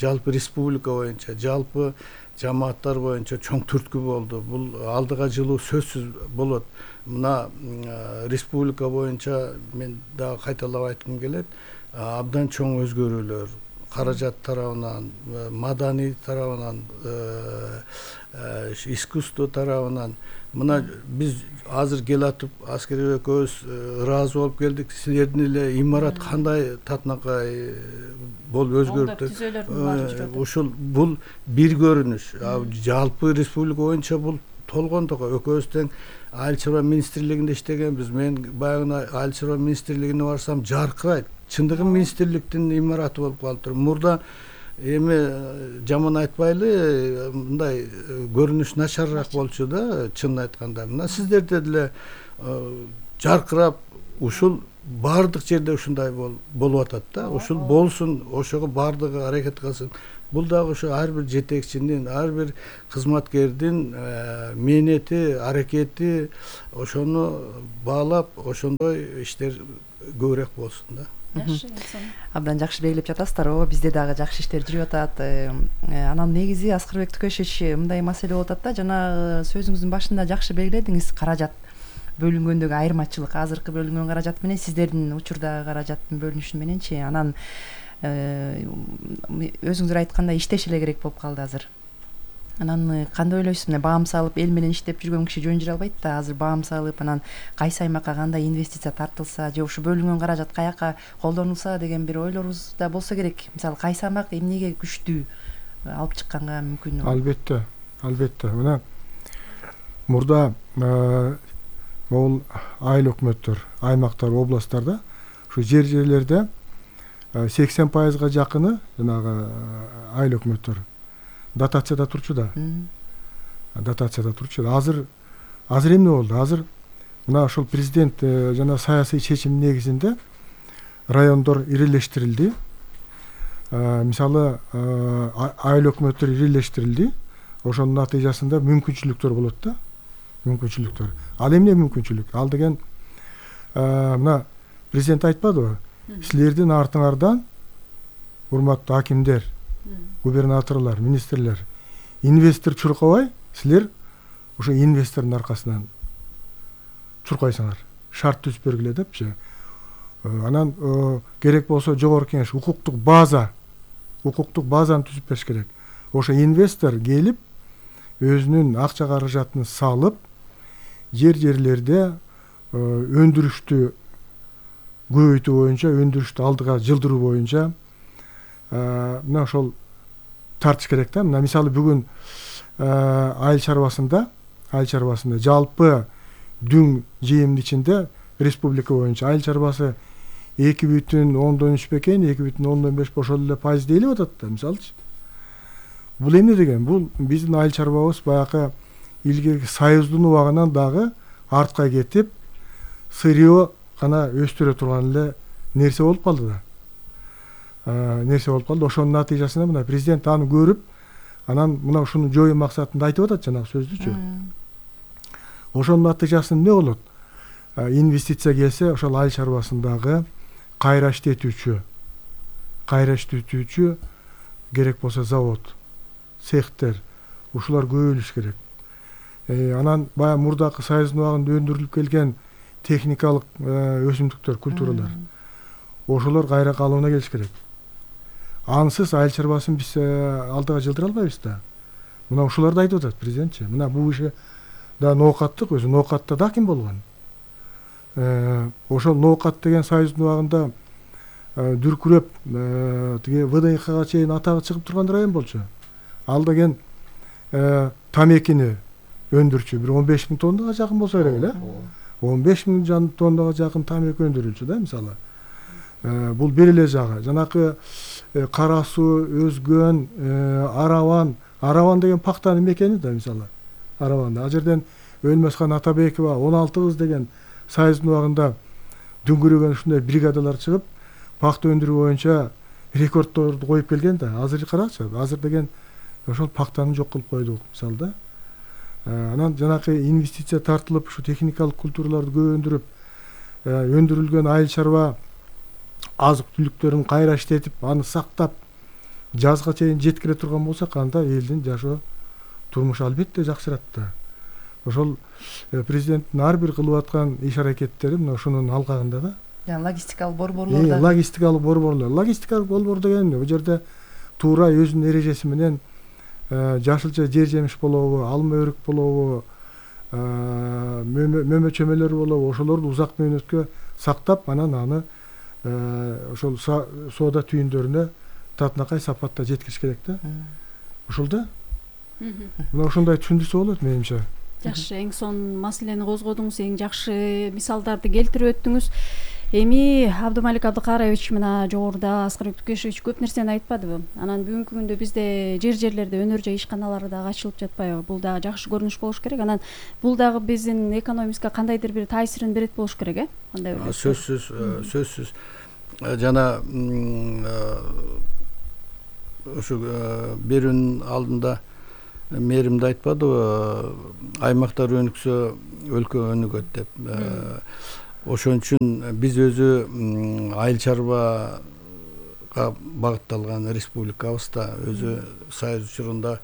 жалпы республика боюнча, жалпы жамааттар боюнча чоң түрткү болду. Бул алдыга жылуу сөзсүз болот. Мына республика боюнча мен дагы кайталап айткым келет, абдан чоң өзгөрүүлөр каражат тарабынан, маданий тарабынан, искусство тарабынан. Мына биз азыр келатып Аскербек экөөбүз ыраазы болуп келдик. Силердин эле имарат кандай татынакай болуп өзгөрүп, ушул бул бир көрүнүш. Жалпы республика боюнча бул толгондо экөөбүз тең айыл чарба министрлигинде иштегенбиз. Мен баягы айыл чарба министрлигине барсам жаркырайт. Чындыгы министрликтин имараты болуп калыптыр. Мурда эми жаман айтпайлы, мындай көрүнүш начарыраак болчу да, чынын айтканда. Мына сиздерде деле жаркырап ушул баардык жерде ушундай болуп атат да. Ушул болсун, ошого баардыгы аракет кылсын. Бул дагы ошо ар бир жетекчинин, ар бир кызматкердин мээнети, аракети, ошону баалап, ошондой иштер көбүрөөк болсун да. Абдан жакшы белгилеп жатасыздар. Ооба, бизде дагы жакшы иштер жүрүп атат. Анан негизи Аскарбек Тукешевич мындай маселе болуп атат да, жана сөзүңүздүн башында жакшы белгиледиңиз, каражат бөлүнгөндөгү айырмачылык, азыркы бөлүнгөн каражат менен сиздердин учурдагы каражаттын бөлүнүшү мененчи. Анан өзүңүздөр айткандай иштеш эле керек болуп калды азыр. Анан кандай ойлойсуз? Мына баам салып эл менен иштеп жүргөн киши жөн жүрө албайт да. Азыр баам салып, анан кайсы аймакка кандай инвестиция тартылса, же ушу бөлүнгөн каражат каяка колдонулса деген бир ойлорубуз да болсо керек. Мисалы кайсы аймак эмнеге күчтүү алып чыкканга мүмкүн? Албетте, албетте. Мына мурда могул айыл өкмөттөр, аймактар, областтарда ушу жер жерлерде сексен пайызга жакыны жанагы айыл өкмөттөр дотацияда турчу да. Дотацияда турчу. Азыр азыр эмне болду? Азыр мына ошол президент жана саясий чечим негизинде райондор ирилештирилди. Мисалы айыл өкмөттөр ирилештирилди. Ошонун натыйжасында мүмкүнчүлүктөр болот да. Мүмкүнчүлүктөр. Ал эмне мүмкүнчүлүк? Ал деген мына президент айтпадыбы? Силердин артыңардан урматтуу акимдер, губернаторлор, министрлер, инвестор чуркабай, силер ошо инвестордун аркасынан чуркайсыңар. Шарт түзүп бергиле депчи. Анан керек болсо жогорку кеңеш укуктук база, укуктук базаны түзүп бериш керек. Ошо инвестор келип өзүнүн акча каражатын салып, жер-жерлерде өндүрүштү көбөйтүү боюнча, өндүрүштү алдыга жылдыруу боюнча мына ошол тартыш керек да. Мына мисалы бүгүн айыл чарбасында, айыл чарбасында жалпы дүң жыйымдын ичинде республика боюнча айыл чарбасы эки бүтүн ондон үч бекен, эки бүтүн ондон беш ошол эле пайыз дейилип атат да, мисалычы. Бул эмне деген? Бул биздин айыл чарбабыз баягы илгерки союздун убагынан дагы артка кетип, сырье гана өстүрө турган эле нерсе болуп калды да. Нерсе болуп калды. Ошонун натыйжасында мына президент аны көрүп, анан мына ушуну жоюу максатында айтып атат жанагы сөздүчү. Ошонун натыйжасында эмне болот? Инвестиция келсе, ошол айыл чарбасындагы кайра иштетүүчү, кайра иштетүүчү керек болсо завод, цехтер, ушулар көбөйүш керек. Анан баягы мурдакы союздун убагында өндүрүлүп келген техникалык өсүмдүктөр, культуралар, ошолор кайра калыбына келиш керек. Ансыз айыл чарбасын биз алдыга жылдыра албайбыз да. Мына ушуларды айтып атат президентчи. Мына бул иши да ноокаттык, өзү ноокатта да ким болгон. Ошол ноокат деген союздун убагында дүркүрөп тиги вэ дэ икка чейин атагы чыгып турган район болчу. Ал деген тамекини өндүрчү, бир он беш миң тоннага жакын болсо керек эле. он беш миң тоннага жакын тамеки өндүрүлчү да, мисалы. Бул бир эле жагы. Жанакы Кара Суу, Өзгөн, Араван, Араван деген пактанын мекени да, мисалы. Араванда. Ал жерден Өлмөсхан Атабекова он алты кыз деген союздун убагында дүңгүрөгөн ушундай бригадалар чыгып, пакта өндүрүү боюнча рекордторду коюп келген да. Азыр карачы, азыр деген ошол пактаны жок кылып койдук, мисалы да. Анан жанакы инвестиция тартылып, ушу техникалык культураларды көп өндүрүп, өндүрүлгөн айыл чарба азык түлүктөрүн кайра иштетип, аны сактап, жазга чейин жеткире турган болсок, анда элдин жашоо турмушу албетте жакшырат да. Ошол президенттин ар бир кылып аткан иш-аракеттери мына ушунун алкагында да. Жана логистикалык борборлордо. Логистикалык борборлор. Логистикалык борбор деген бул жерде туура өзүнүн эрежеси менен жашылча жер жемиш болобу, алма өрүк болобу, мөмө чөмөлөр болобу, ошолорду узак мөөнөткө сактап, анан аны ошол соода түйүндөрүнө татынакай сапатта жеткириш керек да. Ошол да. Мына ошондой түшүндүрсө болот менимче. Жакшы, эң сонун маселени козгодуңуз, эң жакшы мисалдарды келтирип өттүңүз. Эми Абдумалик Абдыкарович мына жогоруда Аскар Өктүкешевич көп нерсени айтпадыбы? Анан бүгүнкү күндө бизде жер жерлерде өнөр жай ишканалары дагы ачылып жатпайбы? Бул дагы жакшы көрүнүш болуш керек. Анан бул дагы биздин экономикага кандайдыр бир таасирин берет болуш керек, э? Кандай ойлойсуз? Сөзсүз, сөзсүз. Жана ошо берүүнүн алдында мэрим да айтпадыбы, аймактар өнүксө өлкө өнүгөт деп. Ошон үчүн биз өзү айыл чарбага багытталган республикабыз да өзү союз учурунда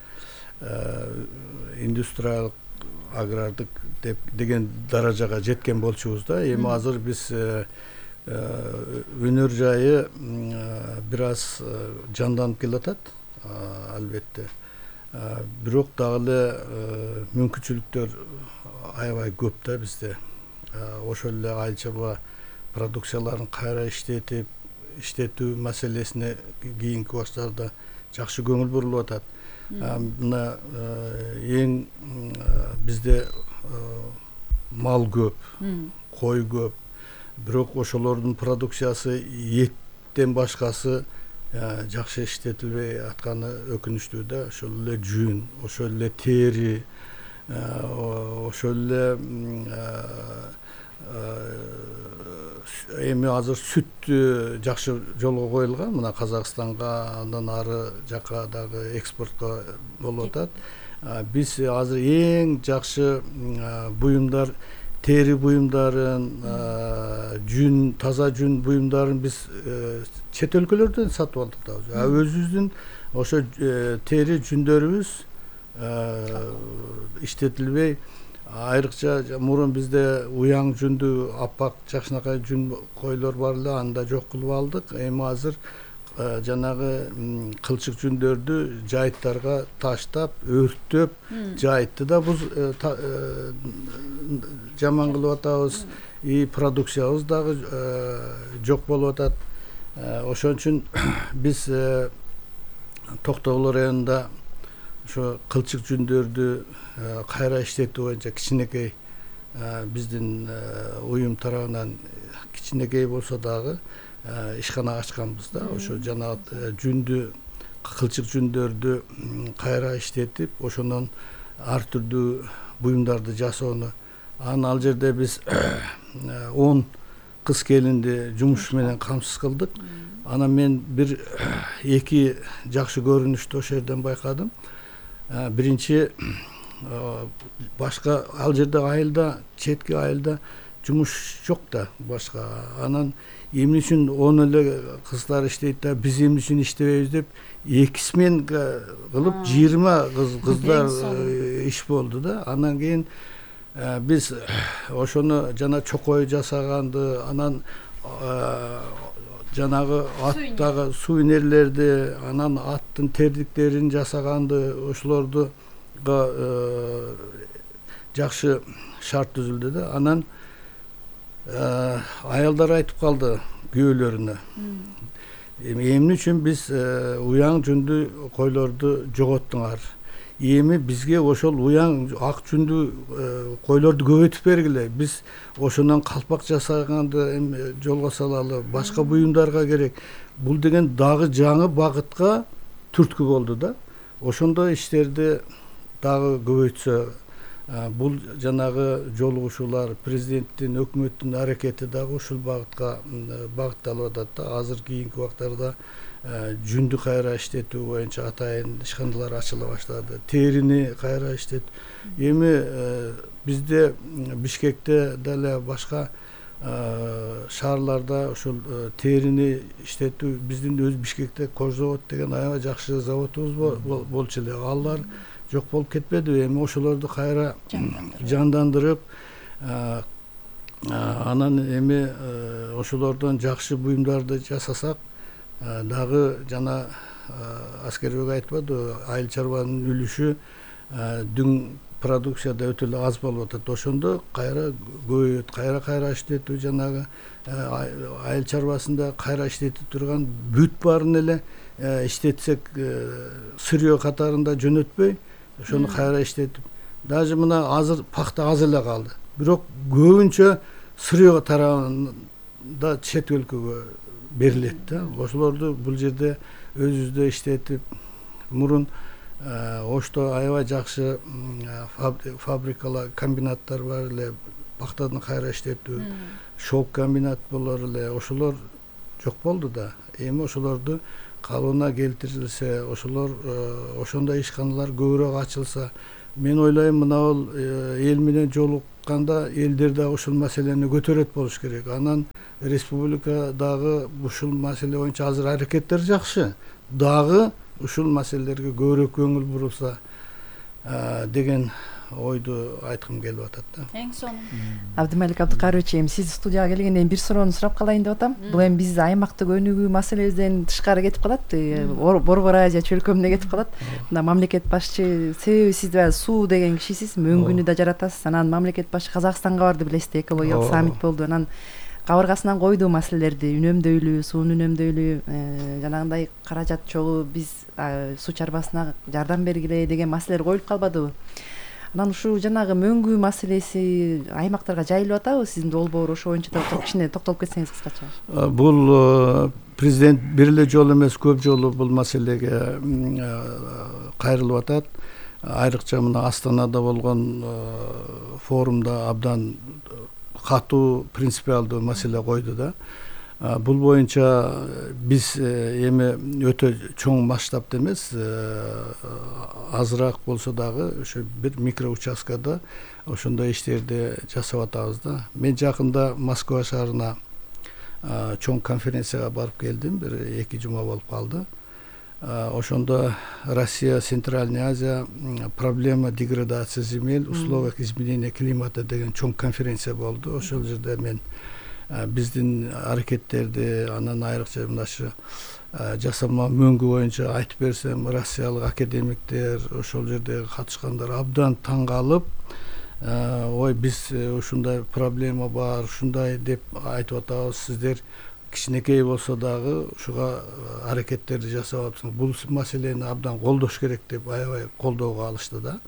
индустриялык агрардык деп деген даражага жеткен болчубуз да. Эми азыр биз өнөр жайы бир аз жанданып келатат, албетте. Бирок дагы эле мүмкүнчүлүктөр аябай көп да бизде. Ошол эле айыл чарба продукцияларын кайра иштетип, иштетүү маселесине кийинки убактарда жакшы көңүл бурулуп атат. Мына эң бизде мал көп, кой көп. Бирок ошолордун продукциясы эттен башкасы жакшы иштетилбей атканы өкүнүчтүү да. Ошол эле жүн, ошол эле тери, ошол эле эми азыр сүт жакшы жолго коюлган. Мына Казакстанга, андан ары жака дагы экспортко болуп атат. Биз азыр эң жакшы буюмдар, тери буюмдарын, жүн, таза жүн буюмдарын биз чет өлкөлөрдөн сатып алдык да. Өзүбүздүн ошо тери жүндөрүбүз иштетилбей, айрыкча мурун бизде уяң жүндүү аппак жакшынакай жүн койлор бар эле, аны да жок кылып алдык. Эми азыр жанагы кылчык жүндөрдү жайыттарга таштап, өрттөп, жайытты да буз жаман кылып атабыз. И продукциябыз дагы жок болуп атат. Ошон үчүн биз Токтогул районунда ошо кылчык жүндөрдү кайра иштетүү боюнча кичинекей биздин уюм тарабынан кичинекей болсо дагы ишкана ачканбыз да. Ошо жана жүндү, кылчык жүндөрдү кайра иштетип, ошондон ар түрдүү буюмдарды жасоону. Анан ал жерде биз он кыз келинди жумуш менен камсыз кылдык. Анан мен бир эки жакшы көрүнүштү ошол жерден байкадым. Биринчи, башка ал жерде айылда, четки айылда жумуш жок да башка. Анан эмне үчүн он эле кыздар иштейт да, биз эмне үчүн иштебейбиз деп эки смен кылып жыйырма кыз кыздар иш болду да. Андан кийин биз ошону жана чокой жасаганды, анан жанагы аттагы сувенирлерди, анан аттын тердиктерин жасаганды, ошолорду жакшы шарт түзүлдү да. Анан аялдар айтып калды күйөөлөрүнө, эмне үчүн биз уяң жүндүү койлорду жоготтуңар? Эми бизге ошол уяң ак жүндүү койлорду көбөйтүп бергиле. Биз ошондон калпак жасаганды жолго салалы, башка буюмдарга керек. Бул деген дагы жаңы багытка түрткү болду да. Ошондой иштерди дагы көбөйтсө, бул жанагы жолугушуулар, президенттин, өкмөттүн аракети дагы ушул багытка багытталып атат да. Азыр кийинки убактарда жүндү кайра иштетүү боюнча атайын ишканалар ачыла баштады. Терини кайра иштет. Эми бизде Бишкекте деле башка шаарларда ошол терини иштетүү, биздин өз Бишкекте Кожзавод деген аябай жакшы заводубуз болчу эле. Алар жок болуп кетпеди. Эми ошолорду кайра жандандырып, анан эми ошолордон жакшы буюмдарды жасасак дагы, жана Аскербек айтпады, айыл чарбанын үлүшү дүң продукцияда өтө эле аз болуп атат. Ошондо кайра көбөйөт, кайра кайра иштетүү, жанагы айыл чарбасында кайра иштетип турган бүт баарын эле иштетсек, сырье катарында жөнөтпөй, ошону кайра иштетип, даже мына азыр пахта аз эле калды. Бирок көбүнчө Сырьё тарабында чет өлкөгө берилет да. Ошолорду бул жерде өзүбүздө иштетип, мурун Ошто аябай жакшы фабрикалар, комбинаттар бар эле, пахтадан кайра иштетүү, шелк комбинат болор эле, ошолор жок болду да. Эми ошолорду калыбына келтирилсе, ошолор ошондой ишканалар көбүрөөк ачылса, мен ойлойм мына бул эл менен жолукканда элдер дагы ушул маселени көтөрөт болуш керек. Анан республикадагы ушул маселе боюнча азыр аракеттер жакшы. Дагы ушул маселелерге көбүрөөк көңүл бурулса деген ойду айткым келип атат да. Эң сонун. Абдымалик Абдыкарович, эми сиз студияга келгенде бир суроону сурап калайын деп атам. Бул эми биз аймактык өнүгүү маселебизден тышкары кетип калат, Борбор Азия чөлкөмүнө кетип калат. Мына мамлекет башчы, себеби сиз баягы суу деген кишисиз, мөңгүнү да жаратасыз. Анан мамлекет башчы Казакстанга барды, билесиз, экологиялык саммит болду. Анан кабыргасынан койду маселелерди, үнөмдөйлүү, сууну үнөмдөйлүү, жанагындай каражат чогуу биз суу чарбасына жардам бергиле деген маселелер коюлуп калбадыбы? Анан ушул жанагы мөңгүү маселеси аймактарга жайылып атабы? Сиздин долбоор ошо боюнча да кичине токтолуп кетсеңиз кыскача. Бул президент бир эле жолу эмес, көп жолу бул маселеге кайрылып атат. Айрыкча мына Астанада болгон форумда абдан катуу, принципиалдуу маселе койду да. Бул боюнча биз эми өтө чоң масштабта эмес, азыраак болсо дагы ошо бир микро участкада ошондой иштерди жасап атабыз да. Мен жакында Москва шаарына чоң конференцияга барып келдим, бир эки жума болуп калды. Ошондо Россия, Центральная Азия, проблема деградации земель, условиях изменения климата деген чоң конференция болду. Ошол жерде мен биздин аракеттерди, анан айрыкча мындашы жасалма мөңгү боюнча айтып берсем, россиялык академиктер, ошол жердеги катышкандар абдан таң калып, ой, биз ушундай проблема бар, ушундай деп айтып атабыз, сиздер кичинекей болсо дагы ушуга аракеттерди жасап атсыңыз, бул маселени абдан колдош керек деп аябай колдоого алышты да.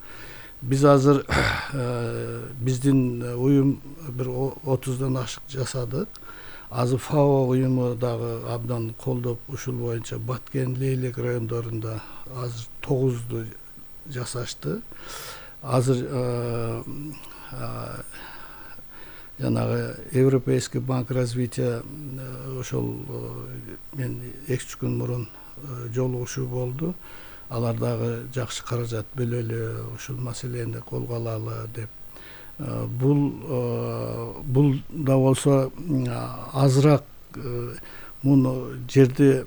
Биз азыр биздин уюм бир отуздан ашык жасадык. Азыр ФАО уюму дагы абдан колдоп, ушул боюнча Баткен, Лейлек райондорунда азыр тогузду жасашты. Азыр жанагы Европейский банк развития ошол мен эки үч күн мурун жолугушуу болду. Алар дагы жакшы каражат бөлөлү, ушул маселени колго алалы деп. Бул бул да болсо азыраак муну жерди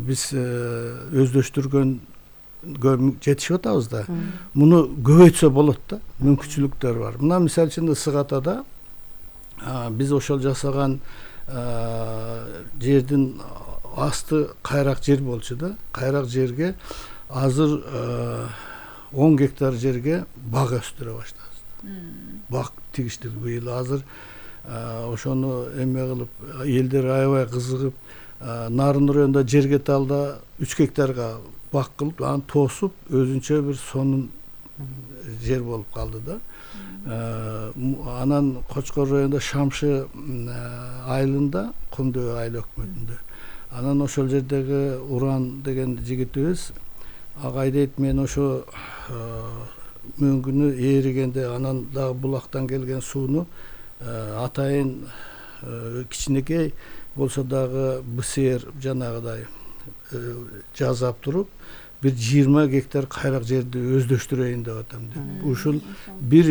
биз өздөштүргөнгө жетишип атабыз да. Муну көбөйтсө болот да, мүмкүнчүлүктөр бар. Мына мисалы үчүн Ысык Атада биз ошол жасаган жердин асты кайрак жер болчу да. Кайрак жерге азыр он гектар жерге бак өстүрө баштадык. Бак тигиштик быйыл азыр ошону эме кылып, элдер аябай кызыгып, Нарын районунда Жергеталда үч гектарга бак кылып, аны тосуп, өзүнчө бир сонун жер болуп калды да. Анан Кочкор районунда Шамшы айылында, Кумдөө айыл өкмөтүндө. Анан ошол жердеги Уран деген жигитибиз ага дейт, мен ошо мөңгүнү ээригенде, анан дагы булактан келген сууну атайын кичинекей болсо дагы БСР жанагыдай жазап туруп, бир жыйырма гектар кайрак жерди өздөштүрөйүн деп атам деп. Ушул бир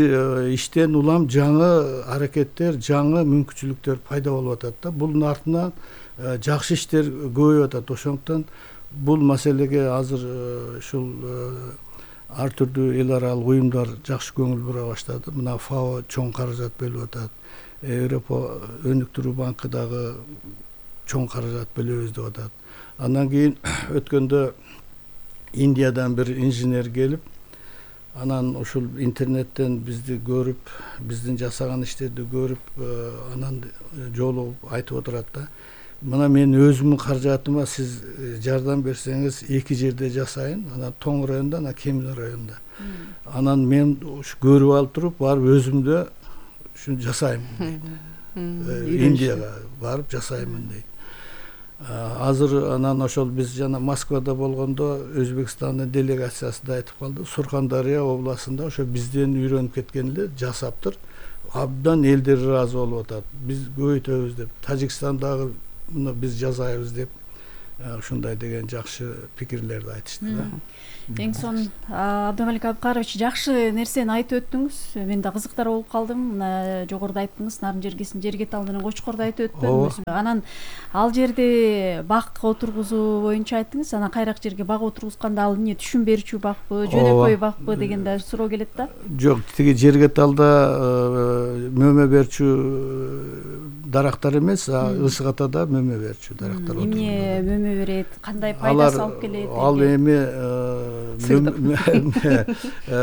иштен улам жаңы аракеттер, жаңы мүмкүнчүлүктөр пайда болуп атат да. Бунун артынан жакшы иштер көбөйүп атат. Ошондуктан бул маселеге азыр ушул ар түрдүү эл аралык уюмдар жакшы көңүл бура баштады. Мына ФАО чоң каражат бөлүп атат. Европа өнүктүрүү банкы дагы чоң каражат бөлөбүз деп атат. Андан кийин өткөндө Индиядан бир инженер келип, анан ушул интернеттен бизди көрүп, биздин жасаган иштерди көрүп, анан жолугуп айтып отурат да. мына мен өзүмдүн каражатыма сиз жардам берсеңиз эки жерде жасайын, анан Тоң районунда, анан Кемин районунда. Анан мен ушу көрүп алып туруп барып өзүмдө ушуну жасаймын дейт. Индияга барып жасаймын дейт. Азыр анан ошол биз жана Москвада болгондо Өзбекстандын делегациясы да айтып калды. Суркандария областында ошо бизден үйрөнүп кеткен эле жасаптыр. Абдан элдер ыраазы болуп атат. Биз көбөйтөбүз деп, Тажикстандагы муну биз жасайбыз деп ушундай деген жакшы пикирлерди айтышты да. Эң сонун Абдымалик Абкарович жакшы нерсени айтып өттүңүз. Мен да кызыктар болуп калдым. Мына жогоруда айттыңыз, Нарын жергесин жерге талдын Кочкорду айтып өттүңүз. Анан ал жерде бак отургузуу боюнча айттыңыз. Анан кайрак жерге бак отургузганда ал эмне түшүм берүүчү бакпы, жөнөкөй бакпы деген да суроо келет да. Жок, тиги жерге талда мөмө берүүчү дарактар эмес, ысык атада мөмө берүүчү дарактар. Эмне мөмө берет, кандай пайдасы алып келет? Ал эми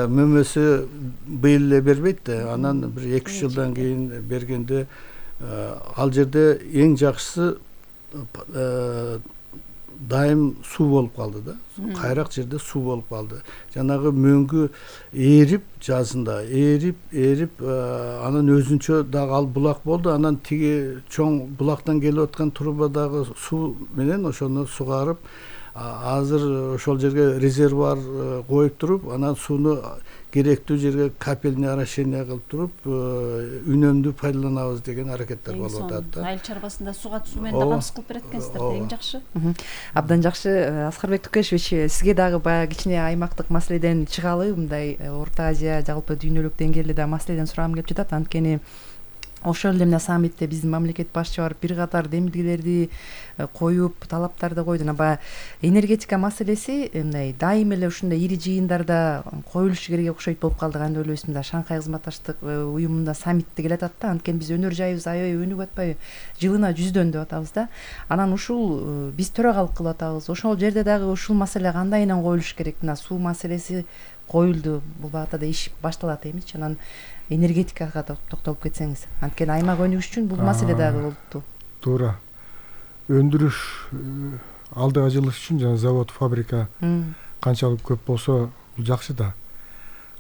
мөмөсү быйыл эле бербейт да, анан бир эки үч жылдан кийин бергенде ал жерде эң жакшысы дайым суу болуп калды да. Кайрак жерде суу болуп калды. Жанагы мөңгү эрип, жазында эрип, эрип, анан өзүнчө дагы ал булак болду. Анан тиги чоң булактан келип аткан трубадагы суу менен ошону сугарып, азыр ошол жерге резервуар коюп туруп, анан сууну керектүү жерге капельный орошение кылып туруп, үнөмдүү пайдаланабыз деген аракеттер болуп атат да. Айыл чарбасында суга суу менен да камсыз кылып берет экенсиздер, эң жакшы. Абдан жакшы. Аскарбек Тукешевич, сизге дагы баягы кичине аймактык маселеден чыгалы, мындай Орто Азия, жалпы дүйнөлүк деңгээлде да маселеден сурагым келип жатат. Анткени ошол эле мына саммитте биздин мамлекет башчы барып бир катар демилгелерди коюп, талаптарды койду. Баягы энергетика маселеси мындай дайым эле ушундай ири жыйындарда коюлушу керек окшойт болуп калды. Кандай ойлойсуз? Мында Шанхай кызматташтык уюмунда саммитте келе атат да. Анткени биз өнөр жайыбыз аябай өнүгүп атпайбы? Жылына жүздөн деп атабыз да. Анан ушул биз төрагалык кылып атабыз. Ошол жерде дагы ушул маселе кандайынан коюлуш керек? Мына суу маселеси коюлду, бул багытта да иш башталат эмичи? Анан энергетикага токтолуп кетсеңиз. Анткени аймак өнүгүш үчүн бул маселе дагы болупту. Туура. Өндүрүш, алдыга жылыш үчүн жана завод, фабрика канчалык көп болсо бул жакшы да.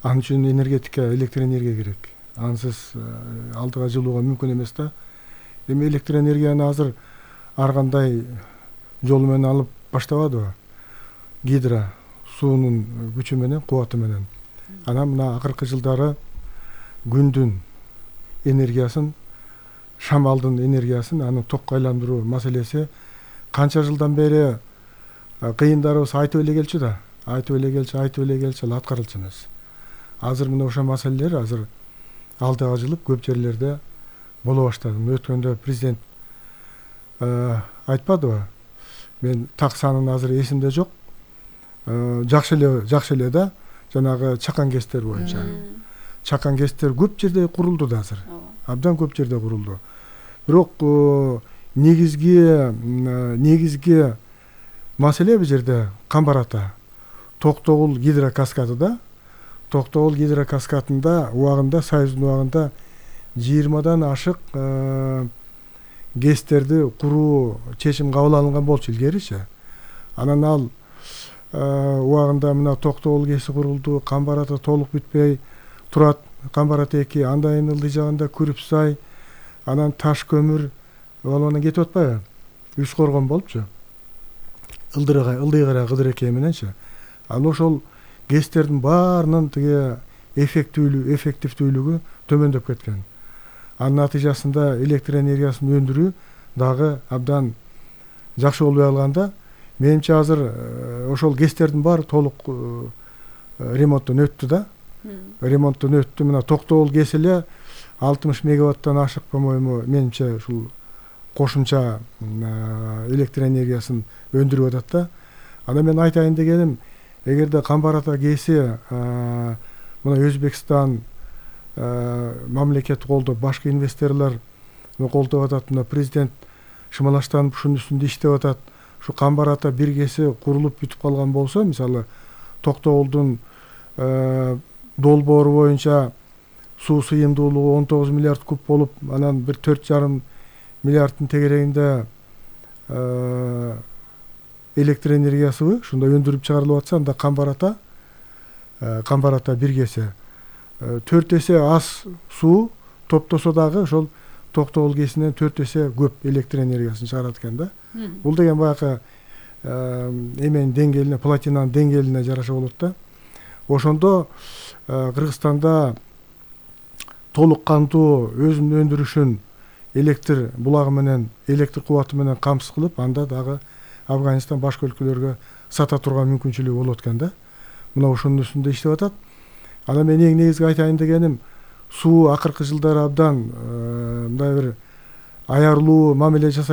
Ал үчүн энергетика, электр энергия керек. Ансыз алдыга жылууга мүмкүн эмес да. Эми электр энергияны азыр ар кандай жол менен алып баштабадыбы? Гидро суунун күчү менен, кубаты менен. Анан мына акыркы жылдары күндүн энергиясын, шамалдын энергиясын, аны токко айландыруу маселеси канча жылдан бери кыйындарыбыз айтып эле келчү да. Айтып эле келчү, айтып эле келчү, ал аткарылчу эмес. Азыр мына ошол маселелер азыр алдыга жылып көп жерлерде боло баштады. Өткөндө президент айтпадыбы? Мен так санын азыр эсимде жок. Жакшы эле, жакшы эле да, жанагы чакан кестер боюнча. Чакан кестер көп жерде курулду да азыр. Абдан көп жерде курулду. Бирок негизги негизги маселе бул жерде Камбарата, Токтогул гидрокаскады да. Токтогул гидрокаскадында убагында, Союздун убагында жыйырмадан ашык гестерди куруу чечим кабыл алынган болчу илгеричи. Анан ал убагында мына Токтогул кеси курулду, Камбарата толук бүтпөй турат. Камбарата эки, андайын ылдый жагында Күрүпсай, анан Таш көмүр, анан кетип атпайбы? Үч коргон болупчу. Ылдырыга, ылдыйгара Кыдырекей мененчи. Анан ошол гестердин баарынын тиги эффектүүлүгү, эффективдүүлүгү төмөндөп кеткен. Анын натыйжасында электр энергиясын өндүрүү дагы абдан жакшы болбой калганда, менимче азыр ошол гестердин баары толук ремонттон өттү да. Ремонттон өттү. Мына Токтогул кеси эле алтымыш мегаваттан ашык, по-моему, менимче ушул кошумча электр энергиясын өндүрүп атат да. Анан мен айтайын дегеним, эгерде Камбарата кеси мына Өзбекстан мамлекет колдоп, башка инвесторлор колдоп атат, мына президент шымалаштанып ушунун үстүндө иштеп атат. Ушу Камбарата бир кеси курулуп бүтүп калган болсо, мисалы Токтогулдун долбоору боюнча суу сыйымдуулугу он тогуз миллиард куб болуп, анан бир төрт жарым миллиарддын тегерегинде электр энергиясыбы ушундай өндүрүп чыгарылып атса, анда Камбар ата Камбар ата бир кесе төрт эсе аз суу топтосо дагы ошол Токтогул кесинен төрт эсе көп электр энергиясын чыгарат экен да. Бул деген баягы эменин деңгээлине, платинанын деңгээлине жараша болот да. Ошондо Кыргызстанда толук кандуу өзүнүн өндүрүшүн электр булагы менен, электр кубаты менен камсыз кылып, анда дагы Афганистан башка өлкөлөргө сата турган мүмкүнчүлүгү болот экен да. Мына ошонун үстүндө иштеп атат. Анан мен эң негизги айтайын дегеним, суу акыркы жылдары абдан мындай бир аярлуу мамиле жасай